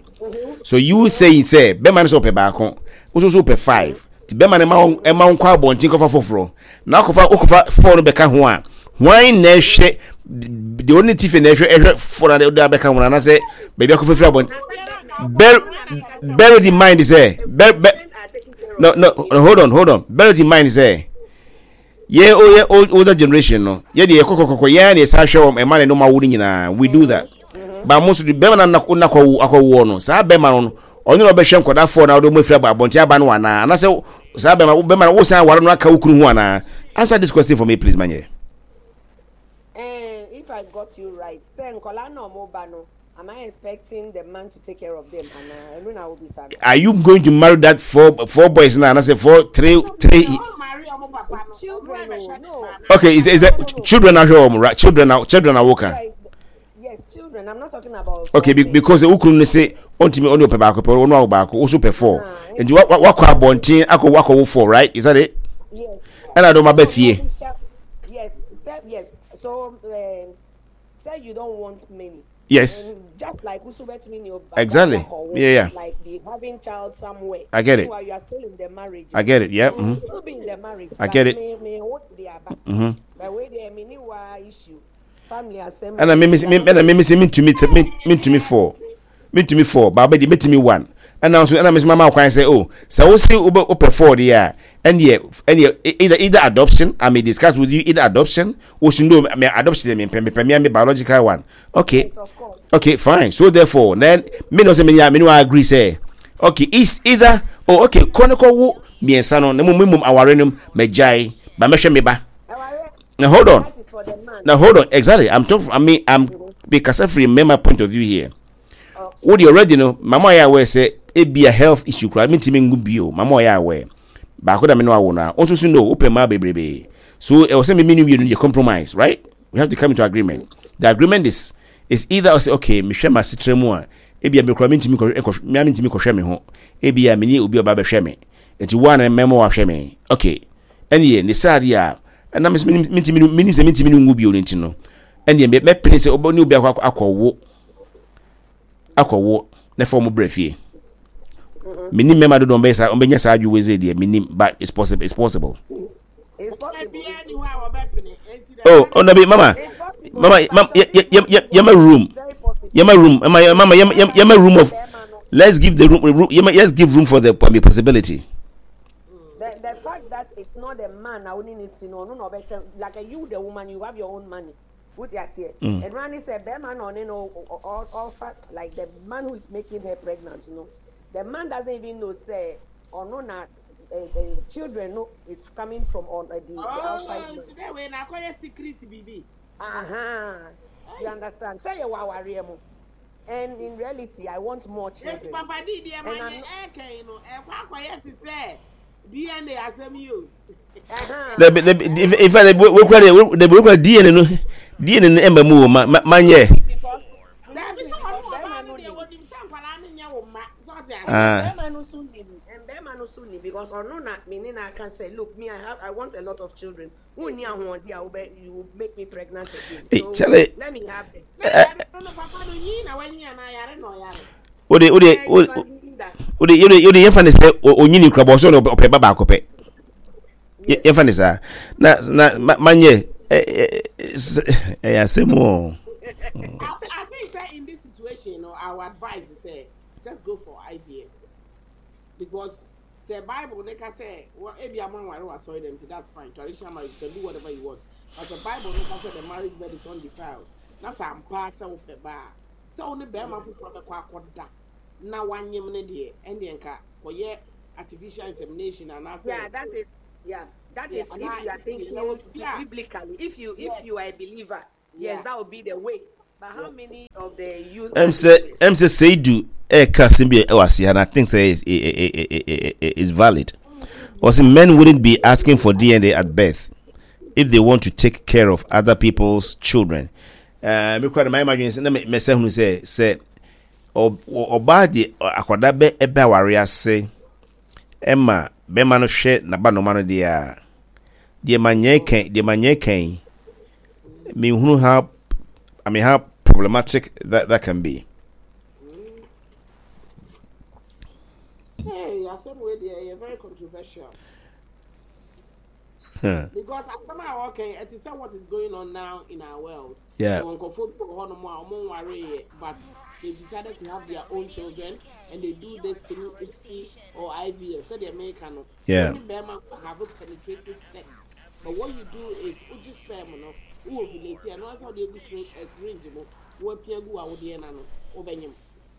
so you saying sɛ bɛrima no so ɔpɛ baako wo nso so pɛ five ti bɛrima no ma wo ɛma wo nkɔ abɔnten kɔfa foforɔ na akɔfa wokɔfa four no bɛka ho a hwan na ɛhwɛ deɛ ɔne ti fɛ na ɛhwɛ ɛhwɛ four na ɔde abɛka ho anaasɛ baabi akɔfa firi abɔnten bear bear it in mind sɛ bear bear no no hold on hold on bear it in mind sɛ yɛ o yɛ older generation no yɛ deɛ kɔkɔkɔkɔ yɛn na yɛsan hwɛ wɔn ɛma ne no ma wo no nyinaa we do that ba mo nso de bɛrima na nakɔ akɔwoɔ no saa bɛrima no ɔno na ɔbɛhwɛ nkwadaa fɔɔ na ɔde wɔn afiri abɔnten aba no anaa anaasɛ saa bɛrima bɛrima no wosan aware no aka wo kunu ho anaa answer this question for me please manyɛ. Eh, if I got you right, sɛ nkwadaa na ɔmo ba no, am I expecting the man to take care of them anaa? Ɛno na wobisa no. Are you going to marry that four four boys now? And I say four, three, three. It's children, oh, no. Okay, is is that children are here, right? Children are children are working. Yes, children. I'm not talking about. Okay, be, because the ukunu ne say ontimi only ope baako pe ono awo baako also pe four. And you wakɔ abɔnten akɔ wakɔ wo four, right? Is that it? Yes. And I don't my fie. Yes, yes. So um, say you don't want many. Yes. And just like Exactly. Yeah, yeah. Like be having child somewhere. I get it. You are still in the marriage. I get it. Yeah. Mm-hmm. Still be in the marriage. I get it. Mm-hmm. But wait, there, me issue. ɛna me me ɛna me me sɛ mentumi mentumi four mentumi four baaba deɛ metumi one ɛna nso ɛna me nso mama kwan sɛ oh sɛ wosi wobɛ wopɛ four deɛ a ɛneɛ ɛneɛ either either adoption I may discuss with you either adoption wosi no me adoption deɛ mempɛ mepɛ me me biological one okay okay fine so therefore then me no sɛ me me no agree sɛ okay is either oh okay kɔ ne kɔ wo mmiɛnsa no na mmom mmom aware no mɛgyae ba mɛhwɛ me ba. Now hold on. Now hold on. Exactly. I'm talking. I mean, I'm because from my point of view here. What you already know, Mama ya aware say it be a health issue. Cry me timi ngu bio. Mama ya aware. Baako da me no awo na. Also so no open ma bebrebe. So it was say me me you compromise, right? We have to come into agreement. The agreement is is either I say okay, me hwɛ ma sitre mu a ebia me kura me ntimi kɔ me ntimi kɔhwɛ me ho. Ebia me ni obi oba bɛhwɛ me. Enti wo a na mɛma wahwɛ me. Okay. Ɛneɛ ne saa deɛ a ɛna me mentumi menim sɛ mentumi no nwu bio no nti no ɛneɛ mɛpene sɛ ne obi akɔ akɔwo akɔwo na fa wɔn brɛ fie menim mmarima dodoɔ ɔmbɛyɛ saa ɔmbɛnya saa adwene wei deɛ menim but it's possible it's possible oh oh nabi mama mama mama yɛma room yɛma room mama mama yɛma room of let's give the room, room yɛma let's give room for the possibility. The the fact that it's not the man na only need to know no no ɔbɛhwɛ like you the woman you have your own money wote aseɛ ɛno ani sɛ bɛrima na ɔne no ɔfa like the man who is making her pregnant no the man doesn't even know sɛ ɔno na uh, children no is coming from on uh, the, oh, the outside man. Today we na akɔyɛ secret bibi. Aha, you understand? Sɛ yɛ wɔ awareɛ mu. And in reality, I want more children. Eti papa di deɛ ma yɛ ɛɛkɛn no ɛkɔ akɔyɛ te sɛ DNA asɛm yi o. Dabi dabi in fact wekura de dabi wekura DNA no DNA no ɛma mu o ma ma nyɛ. Dabi sɛ ɔno ɔbaa no deɛ wɔnim sɛ nkwadaa no nyɛ wo mma sɛ ɔte ase. Bɛrima no so nim bɛrima no so nim because ɔno na me ne na aka sɛ look me I have I want a lot of children. Wonni ahoɔden a wobɛ you will make me pregnant again. Hey, so Charlie. let me have them. Eh, wode wode wode wode wode yɛfa ne sɛ onyini kura bɔ so na ɔpɛ ba baako pɛ yɛfa ne saa na na manyɛ ɛyɛ asɛm o. I think say in this situation, no, our advice is say just go for IVF because Sɛ bible no ka sɛ wɔ ebia mo anware wɔ asɔre dɛm nti that's fine traditional marriage you can do whatever you want but sɛ bible no ka sɛ the marriage bed is undefiled na sɛ ampa ara sɛ wopɛ ba a sɛ wo ne barima foforɔ bɛkɔ akɔda na wanyem no deɛ ɛndeɛ nka kɔyɛ artificial insemination anaasɛ. Yeah, that is yeah, that is if you are thinking biblically. If you if you are a believer, yes, that would be the way. But how many of the youth? Ɛm sɛ ɛm sɛ Seidu ɛka asɛm bi ɛwɔ ase and I think sɛ is is valid. Ɔsɛ men wouldn't be asking for DNA at birth if they want to take care of other people's children. Ɛɛ mi kura de maa ma dwen sɛ na mɛ sɛ hunu sɛ sɛ ɔbaa de akwadaa bɛ ɛbɛ aware ase ɛma bɛrima no hwɛ n'aba noma no deɛ a deɛ ma nyɛ kɛn deɛ ma nyɛ kɛn menhunu how I mean how problematic that that can be. Hey, asɛm wei deɛ ɛyɛ very controversial. Because asɛm a wɔka yi ɛte sɛ what is going on now in our world. Yeah. Wɔn nkurɔfoɔ bi wɔ hɔnom a wɔn nwareeɛ but they decided to have their own children and they do this through ICSI or IVF sɛdeɛ meka no. Yeah. Wo ne bɛrima have penetrative sex but what you do is wogye sperm no wo ovulate ɛno ara sɛ wode agu eh, syringe mu na wapia gu w'awodeɛ no ano wobɛnyem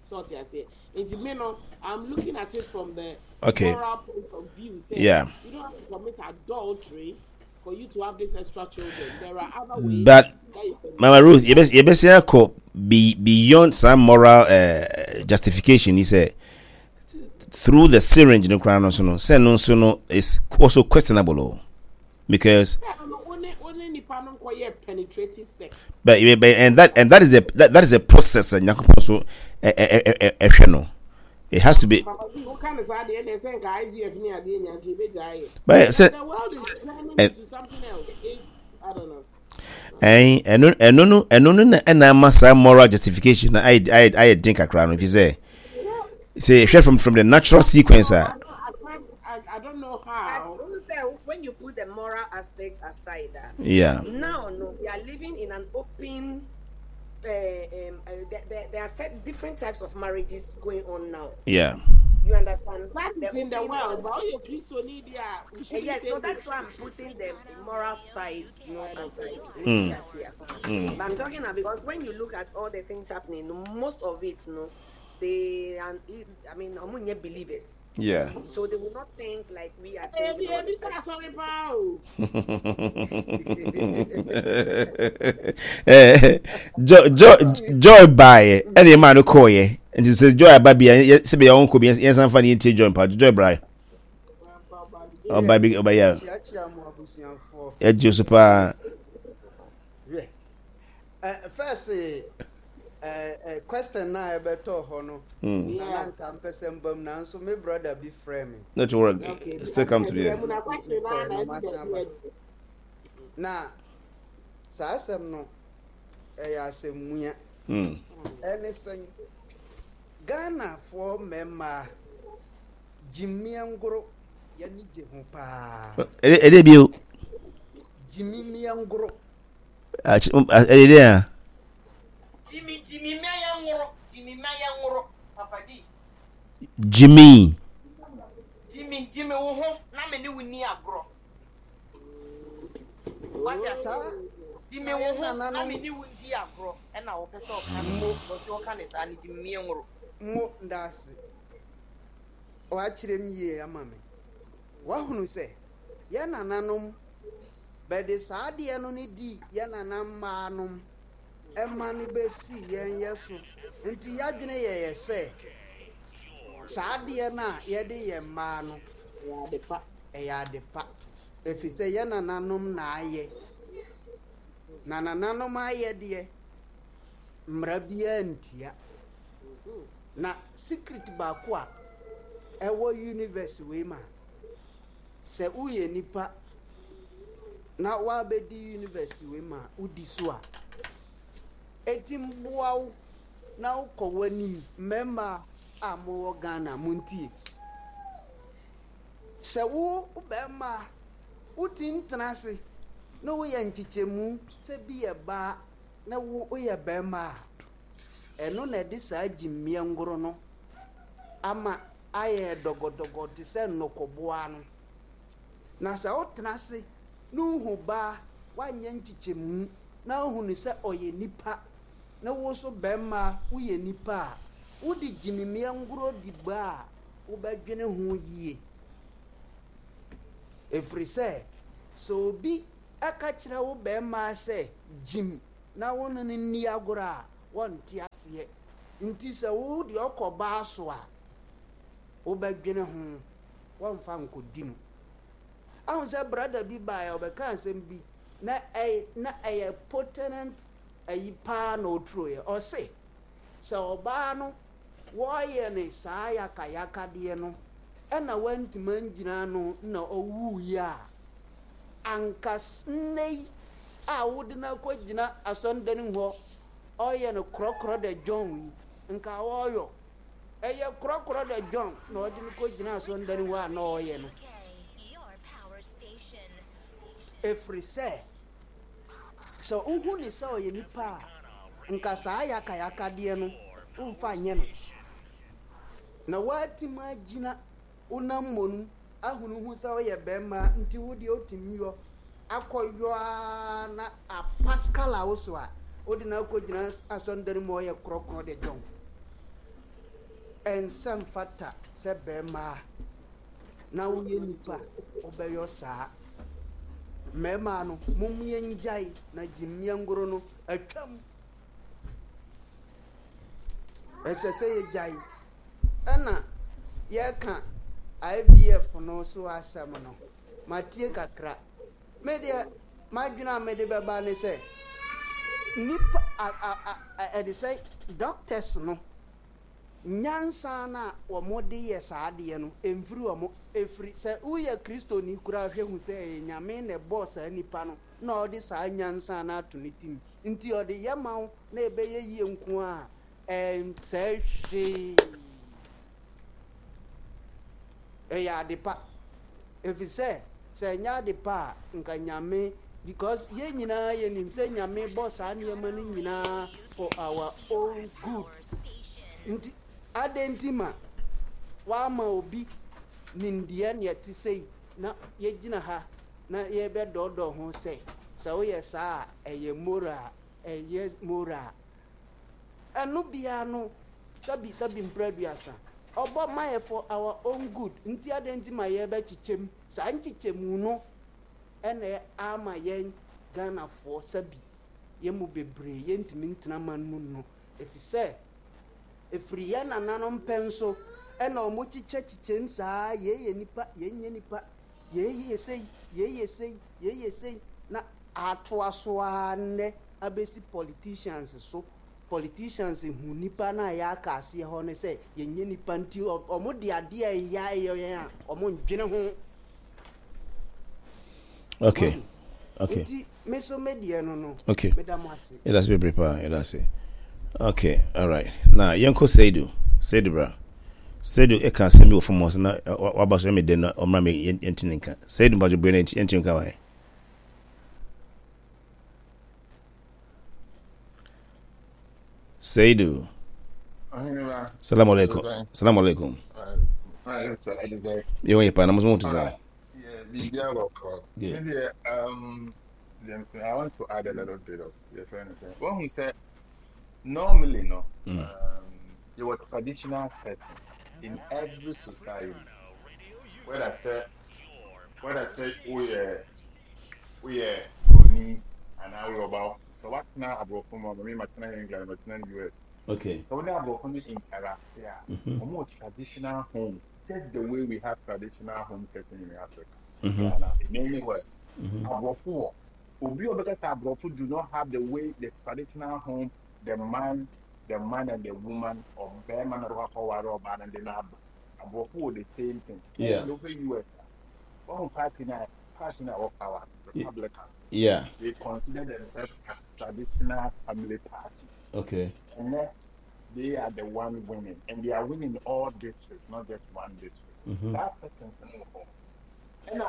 sɛ ɔte aseɛ nti me no I'm looking at it from the okay. moral point of view sɛ yeah. you don't have to commit adultery for you to have this extra children there are other ways but that you can Mama Ruth yɛbɛsɛ akɔ be beyond some moral uh, justification ni sɛ through the syringe no koraa no so no sɛ no nso no is also questionable o because. But, but and that and that is a that, that is a process eh, nyankopɔn so ɛhwɛ no it has to be. But sɛ ɛn ɛno ɛno no ɛno no na ɛna ama saa moral justification na ayɛ ayɛ ayɛ den kakra no fi sɛ sɛ yɛhwɛ from from the natural sequence a. I don't know how. When you put the moral aspects aside, uh, yeah. Now, no, we are living in an open. Uh, um, uh, there, there, there are set different types of marriages going on now. Yeah. You understand? That is in the world, but all your Christo need, yeah. Yes, no, that's why I'm putting the moral side no aside. Mm. Yes, yeah. Mm. But I'm talking about because when you look at all the things happening, most of it, no, they and I mean, I'm believers. Yeah. So they will not think like we are thinking. Eh, joy joy joy baeɛ ɛna ɛmaa no kɔɔyɛ nti sɛ joy aba bi a sɛ bɛyɛ ɔnkɔ bi yɛnsan fa ne yɛntie joy mpa joy brae ɔba bi ɔba yɛ ɛgye so paa. First, question na ɛbɛtɔ hɔ no hmm. na na nka mpɛ sɛ mba mu nanso me brother bi frɛ me. Not work. Still come to the Na saa asɛm no ɛyɛ asɛm mua. Hmm. Ɛne sɛn Ghanafoɔ mmarima gyimie ngoro yɛne gye ho paa. Ɛde bio. Gyimie ngoro. Ɛyɛ dɛn a. Jimmy Jimmy mma yɛn nworo Jimmy mma yɛn nworo Papa D. Jimmy. Jimmy Jimmy wo ho na me ne wo ni agorɔ. Wate ase? Jimmy wo ho na me ne wo ndi agorɔ ɛna wɔpɛ sɛ ɔka ne sɛ ɔsɛ ɔka ne saa ne Jimmy mma yɛn nworo. Mo ndaase. Wakyerɛ mu yie ama me. Wahunu sɛ yɛn nananom Bɛde saa adeɛ no ne dii yɛ nana mmaa nom ma no bɛsii yɛn yɛ so nti yadwene yɛ yɛ sɛ saa adeɛ no a yɛde yɛ mmaa no ɛyɛ ade pa ɛfiri sɛ yɛ nananom na ayɛ na nananom ayɛ deɛ mmara biara ntia na secret baako a ɛwɔ universe wei ma Sɛ woyɛ nipa na woabɛdi universe wei ma wodi so a, ɛtim boa wo na wokɔ w'anim. Mmarima a mowɔ Ghana montie. Sɛ wo barima wotim tena ase na woyɛ nkyekyɛmu sɛ bi yɛ baa na wo woyɛ barima a, ɛno na ɛde saa gyimmiɛ ngoro no ama ayɛ dɔgɔdɔgɔ te sɛ nnɔkɔboa no. Na sɛ wotena ase na wohu ba a wanyɛ nkyekyɛmu na wohu no sɛ ɔyɛ nipa, na wo nso barima woyɛ nipa a, wode gyimimiɛ ngorɔ di ba a, wobɛdwene ho yie. Ɛfiri sɛ, sɛ obi ka kyerɛ wo barima sɛ gyim na wo ne no nni agorɔ a, wɔnte aseɛ. Nti sɛ wo deɛ ɔkɔ baa so a, wobɛdwene ho, wɔmfa nkɔdi no. Ahu sɛ brada bi baeɛ ɔbɛkaa asɛm bi na ɛyɛ na ɛyɛ potent ayi paa na ɔturoeɛ. Ɔse sɛ ɔbaa no wɔyɛ no saa yakayakadeɛ no ɛna wantumi angyina ano na ɔwuiɛ a, anka nnɛ yi a wode no akɔgyina asɔndane hɔ ɔyɛ no korɔkorɔ dɛ John yi, nka ɔyɔ. Ɛyɛ korɔkorɔ dɛ John na ɔde no kɔgyina asɔndane hɔ a na ɔyɛ no. Ɛfiri sɛ, sɛ wohu no sɛ ɔyɛ nipa a, nka saa yakayakadeɛ no womfa nyɛ no. Na woatumi agyina wo nan mmɔnu ahunu ho sɛ woyɛ barima nti wo deɛ wotumi yɔ akɔyɔ ara na apaskala wo so a, wode no akɔgyina asɔndane mu a ɔyɛ korɔkorɔ de dwɔn. Ɛnsɛ mfata sɛ barima na woyɛ nipa wobɛyɔ saa. Mmarima no, mom yɛngyae na gyimmiɛ ngoro no atwam. Ɛsɛ sɛ yɛgyae. Ɛna yɛka IVF no so asɛm no, matie kakra. Me deɛ, m'adwene a mede bɛba ne sɛ, nipa ɛde sɛ doctors no, nyansa no a wɔde yɛ saa adeɛ no, ɛmfiri wɔn. Ɛfiri sɛ woyɛ Kristoni koraa hwɛ hu sɛ ɛyɛ Nyame na ɛbɔɔ saa nipa no na ɔde saa nyansa no ato ne tim. Nti ɔde yɛ ma wo na ɛbɛyɛ yie nko a, ɛnsɛe hwee. Ɛyɛ ade pa. Efisɛ sɛ ɛnyɛ ade pa a, nka Nyame, because yɛn nyinaa yɛnim sɛ Nyame bɔ saa nneɛma no nyinaa for our own good. Nti adɛn nti ma wama obi nimdeɛ nea ɛte sei na yɛgyina ha na yɛbɛdɔɔdɔɔ ho sɛ sɛ woyɛ saa a ɛyɛ moral, ɛyɛ moral. Ɛno biara no sɛbi sɛbi mprɛ aduasa ɔbɔ ma yɛ for our own good nti adɛn nti ma yɛbɛ kyekyɛm saa nkyekyɛmu no ɛna ama yɛn Ghanafoɔ sɛbi yɛn mu bebree yɛntumi ntena man mu no efisɛ efiri yɛn nananom pɛn so ɛna ɔmo kyekyɛ kyekyɛm saa yei yɛ nipa yei nyɛ nipa yei yɛ sei yei yɛ sei yei yɛ sei na atoa so ara nnɛ abɛsi politicians so. Politicians hu nnipa no a yɛaka aseɛ hɔ no sɛ yɛnyɛ nnipa nti wɔn de adeɛ a ɛya ɛyɛ yɛn a wɔn ndwene ho. Okay. Okay. Nti me so me deɛ no no. Okay. Meda mo ase. Yɛda ase bebree paa yɛda ase. Okay, all right. Na yɛnkɔ Seidu. Seidu bra. Seidu ɛka asɛm bi wɔ fam hɔ sɛ na waba so ɛmɛ dɛ na ɔmmra me yɛnti ne nka. Seidu mpatsɔ bue na yɛnti nka wae. Seidu. Salamu alaikum. Salamu alaikum. Yɛ wɔn yɛ paa na mo nso mo te sɛ. Yeah. I want to add a little bit of your friend. What who said normally no there were traditional setting in every society. Whether say whether say oh yeah woyɛ broni anaa woyɛ ɔba sɛ woatena aborɔfo mu a me matena England matena US okay sɛ wo ne aborɔfo no interact a mm-hmm. wɔn wɔ traditional home just the way we have traditional home setting in Africa mm-hmm. Ghana in anywhere mm-hmm. aborɔfo wɔ obi a ɔbɛka sɛ aborɔfo do not have the way the traditional home the man the man and the woman ɔbɛrima na ɔbɛkɔ akɔware ɔbaa no de no aba aborɔfo wɔ the same thing yeah. ɛna wofɛ US a wɔn party na party na ɛwɔ power Republican. Yeah. They consider themselves as traditional family party. Okay. And then they are the one winning, and they are winning all districts, not just one district. Mm-hmm. That person And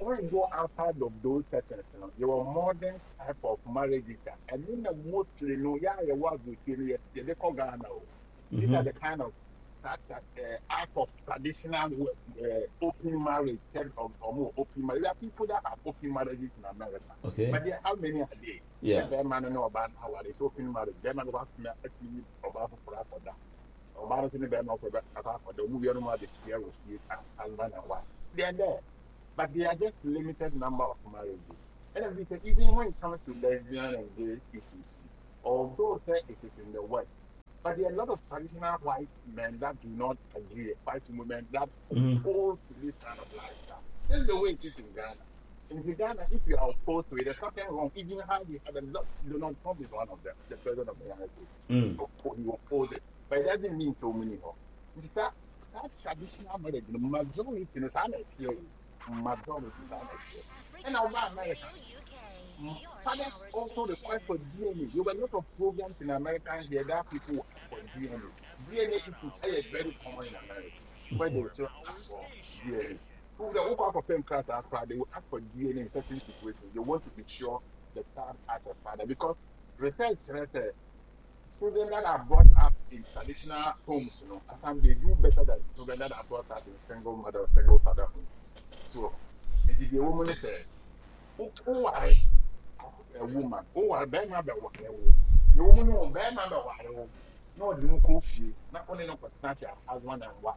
when you go outside of those settings, you know, your modern type of marriages, and in the mostly, you know, yeah, you was with you, they call Ghana. These are the kind of that that uh, out of traditional uh, open marriage, said of or more open marriage. There are people that have open marriages in America. Okay. But there, how many are they? Yeah. That man no about how it's open marriage. That man was actually about for that. Ɔbaa no nso ne bɛrima for that for the movie no ma the share with you as husband and wife. They are there. But they are just limited number of marriages. And because even when it comes to lesbian and gay issues, although say it is in the West, but there are a lot of traditional white men that do not agree, white women that oppose to this kind of lifestyle. This is the way it is in Ghana. In Ghana, if you are opposed to it, there's nothing wrong. Even how we have a lot, Donald Trump is one of them, the president of the United States. He opposed it. But it doesn't mean so many. It's that, that traditional marriage, the majority, you know, majority, and now America, fathers also request for DNA. There were a lot of programs in America here that people ask for DNA. DNA issues are very common in America, where they still ask for DNA. Who the who class they will ask for DNA in certain situations. They want to be sure the child has a father because research says that children that are brought up in traditional homes, you know, at times they do better than children that are brought up in single mother or single father homes. So, and the woman said, who are a woman? Who are bɛrima bɛware wo? The woman no bɛrima bɛware wo. Na ɔde wo kɔ fie na ɔne no kɔtena ase as husband and wife.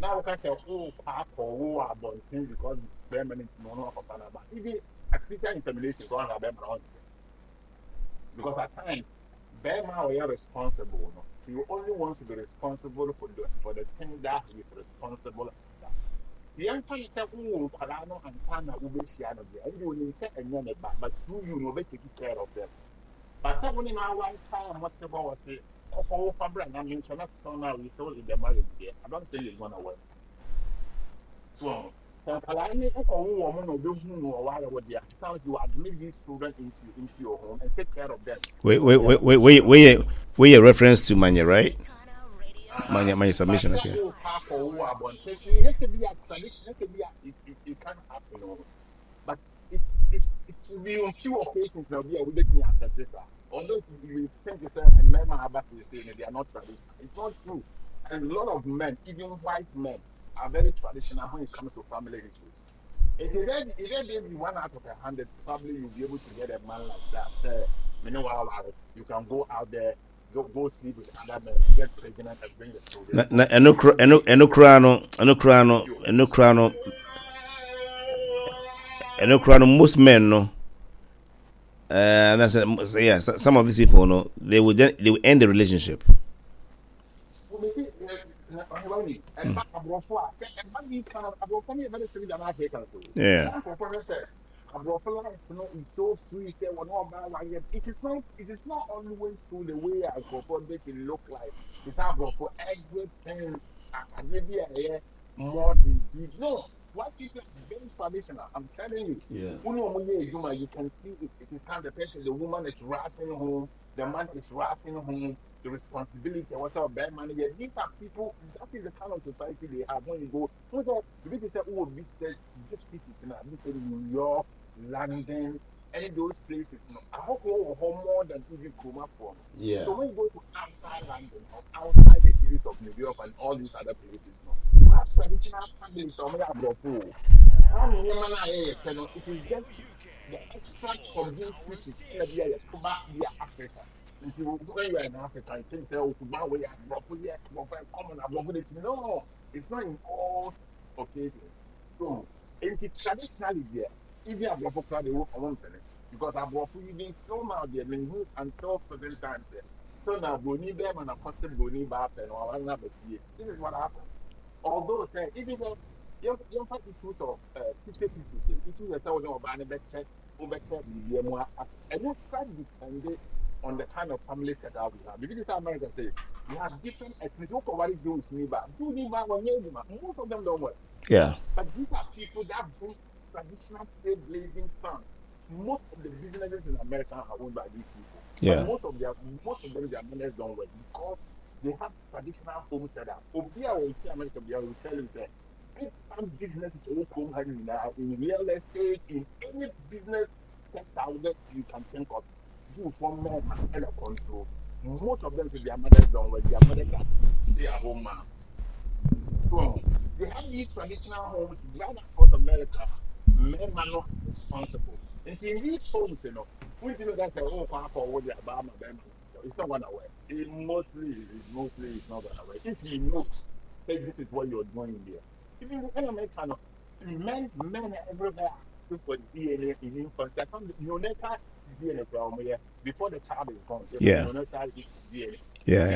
Na woka sɛ wokɔ akɔwo wɔ abɔnten because bɛrima no nti no ɔno akɔfa no aba. Even artificial insemination kɔ ɔhwɛ bɛrima no ɔnte. Because at times bɛrima a ɔyɛ responsible no, he only wants to be responsible for the thing that he is responsible after. Yɛmfa no sɛ wowɔ nkwadaa no ansa na wobɛhyia no deɛ, ɛnde onim sɛ ɛnyɛ ne ba, but through you no ɔbɛtake care of them. But sɛ wo ne no aware paa a mote hɔ ɔse kɔkɔ wo fa bra na me nso na still now you still in the marriage deɛ, I don't think it's gonna work. So sɛ nkwadaa no wokɔwo wɔn na ɔbɛhu no ɔware wo deɛ, at times you admit these children into your home and take care of them. Wait, wait, wait, wait, wait, wait, wait, reference to Manya, right? Manya submission, okay. It can happen, but it's be on few occasions now. We are making accept it. Although you think it's a men are about to say they are not traditional. It's not true. A lot of men, even white men, are very traditional when it comes to family issues. If you then if you be one out of 100, probably you'll be able to get a man like that. You can go out there, go sleep with other men, get pregnant, and bring the children. Na ɛno kora ɛno ɛno kora no ɛno kora no ɛno kora no ɛno kora no most men no. And I said, yeah, some of these people, no, they will then they will end the relationship. Yeah. It is not. It is not always true the way aborɔfo make it look like. It's aborɔfo everything. Maybe more than no. White people are very traditional. I'm telling you. Yeah. You can see it. It is time the person, the woman is rushing home, the man is rushing home, the responsibility, what's up, bad money. These are people, that is the kind of society they have. When you go, this is oh, big cities, New York, London, any of those places. You know, I hope all home more than even Kuma for. Yeah. So when you go to outside London or outside the cities of New York and all these other places, you know, you have traditional families. So many aborɔfo. It is just the extract from these cities ɛna bi a yɛto ba bi a Africa. Nti when you are in Africa, you think sɛ okuba wei aborɔfo yɛ aborɔfo yɛ common aborɔfo de tumi. No, it's not in all occasions. So, nti traditionally deɛ, even aborɔfo koraa de wo ɔmo mpene because aborɔfo even still now deɛ mehu until present times deɛ so na broni bɛrima na kɔsɛ broni baa pɛ no aware na abɛfie. This is what happened. Although say even though yɛmfa issues of 50-50 say issues sɛ wo ne ɔbaa no bɛkyɛ wobɛkyɛ biribiara mu a ɛno kora depend on the kind of family setup we have. Because America say we have different ethnicity. Wokɔware Jewish ni ba, Jew ni ba wɔnyɛ adwuma. Most of them don't work. Yeah. But these are people that bring traditional trailblazing sons. Most of the businesses in America are owned by these people. Yeah. But most of them, their mothers don't work because they have traditional home setup. Obi a wɔte America bi a will tell you say big time business is all home now in real estate, in any business sector that you can think of. Jews for men and a control. Most of them, their mothers don't work. Their mothers are stay at home moms. So they have these traditional homes right across America. Men are not responsible. And in these homes, you know, we do that oh, for what they are It's not gonna work. It mostly it's not gonna work. If you know, say this is what you're doing there. If you in America, Men everywhere are asking for DNA in infancy. I found neonatal DNA from here before the child is born. Yeah. Neonatal DNA. Yeah.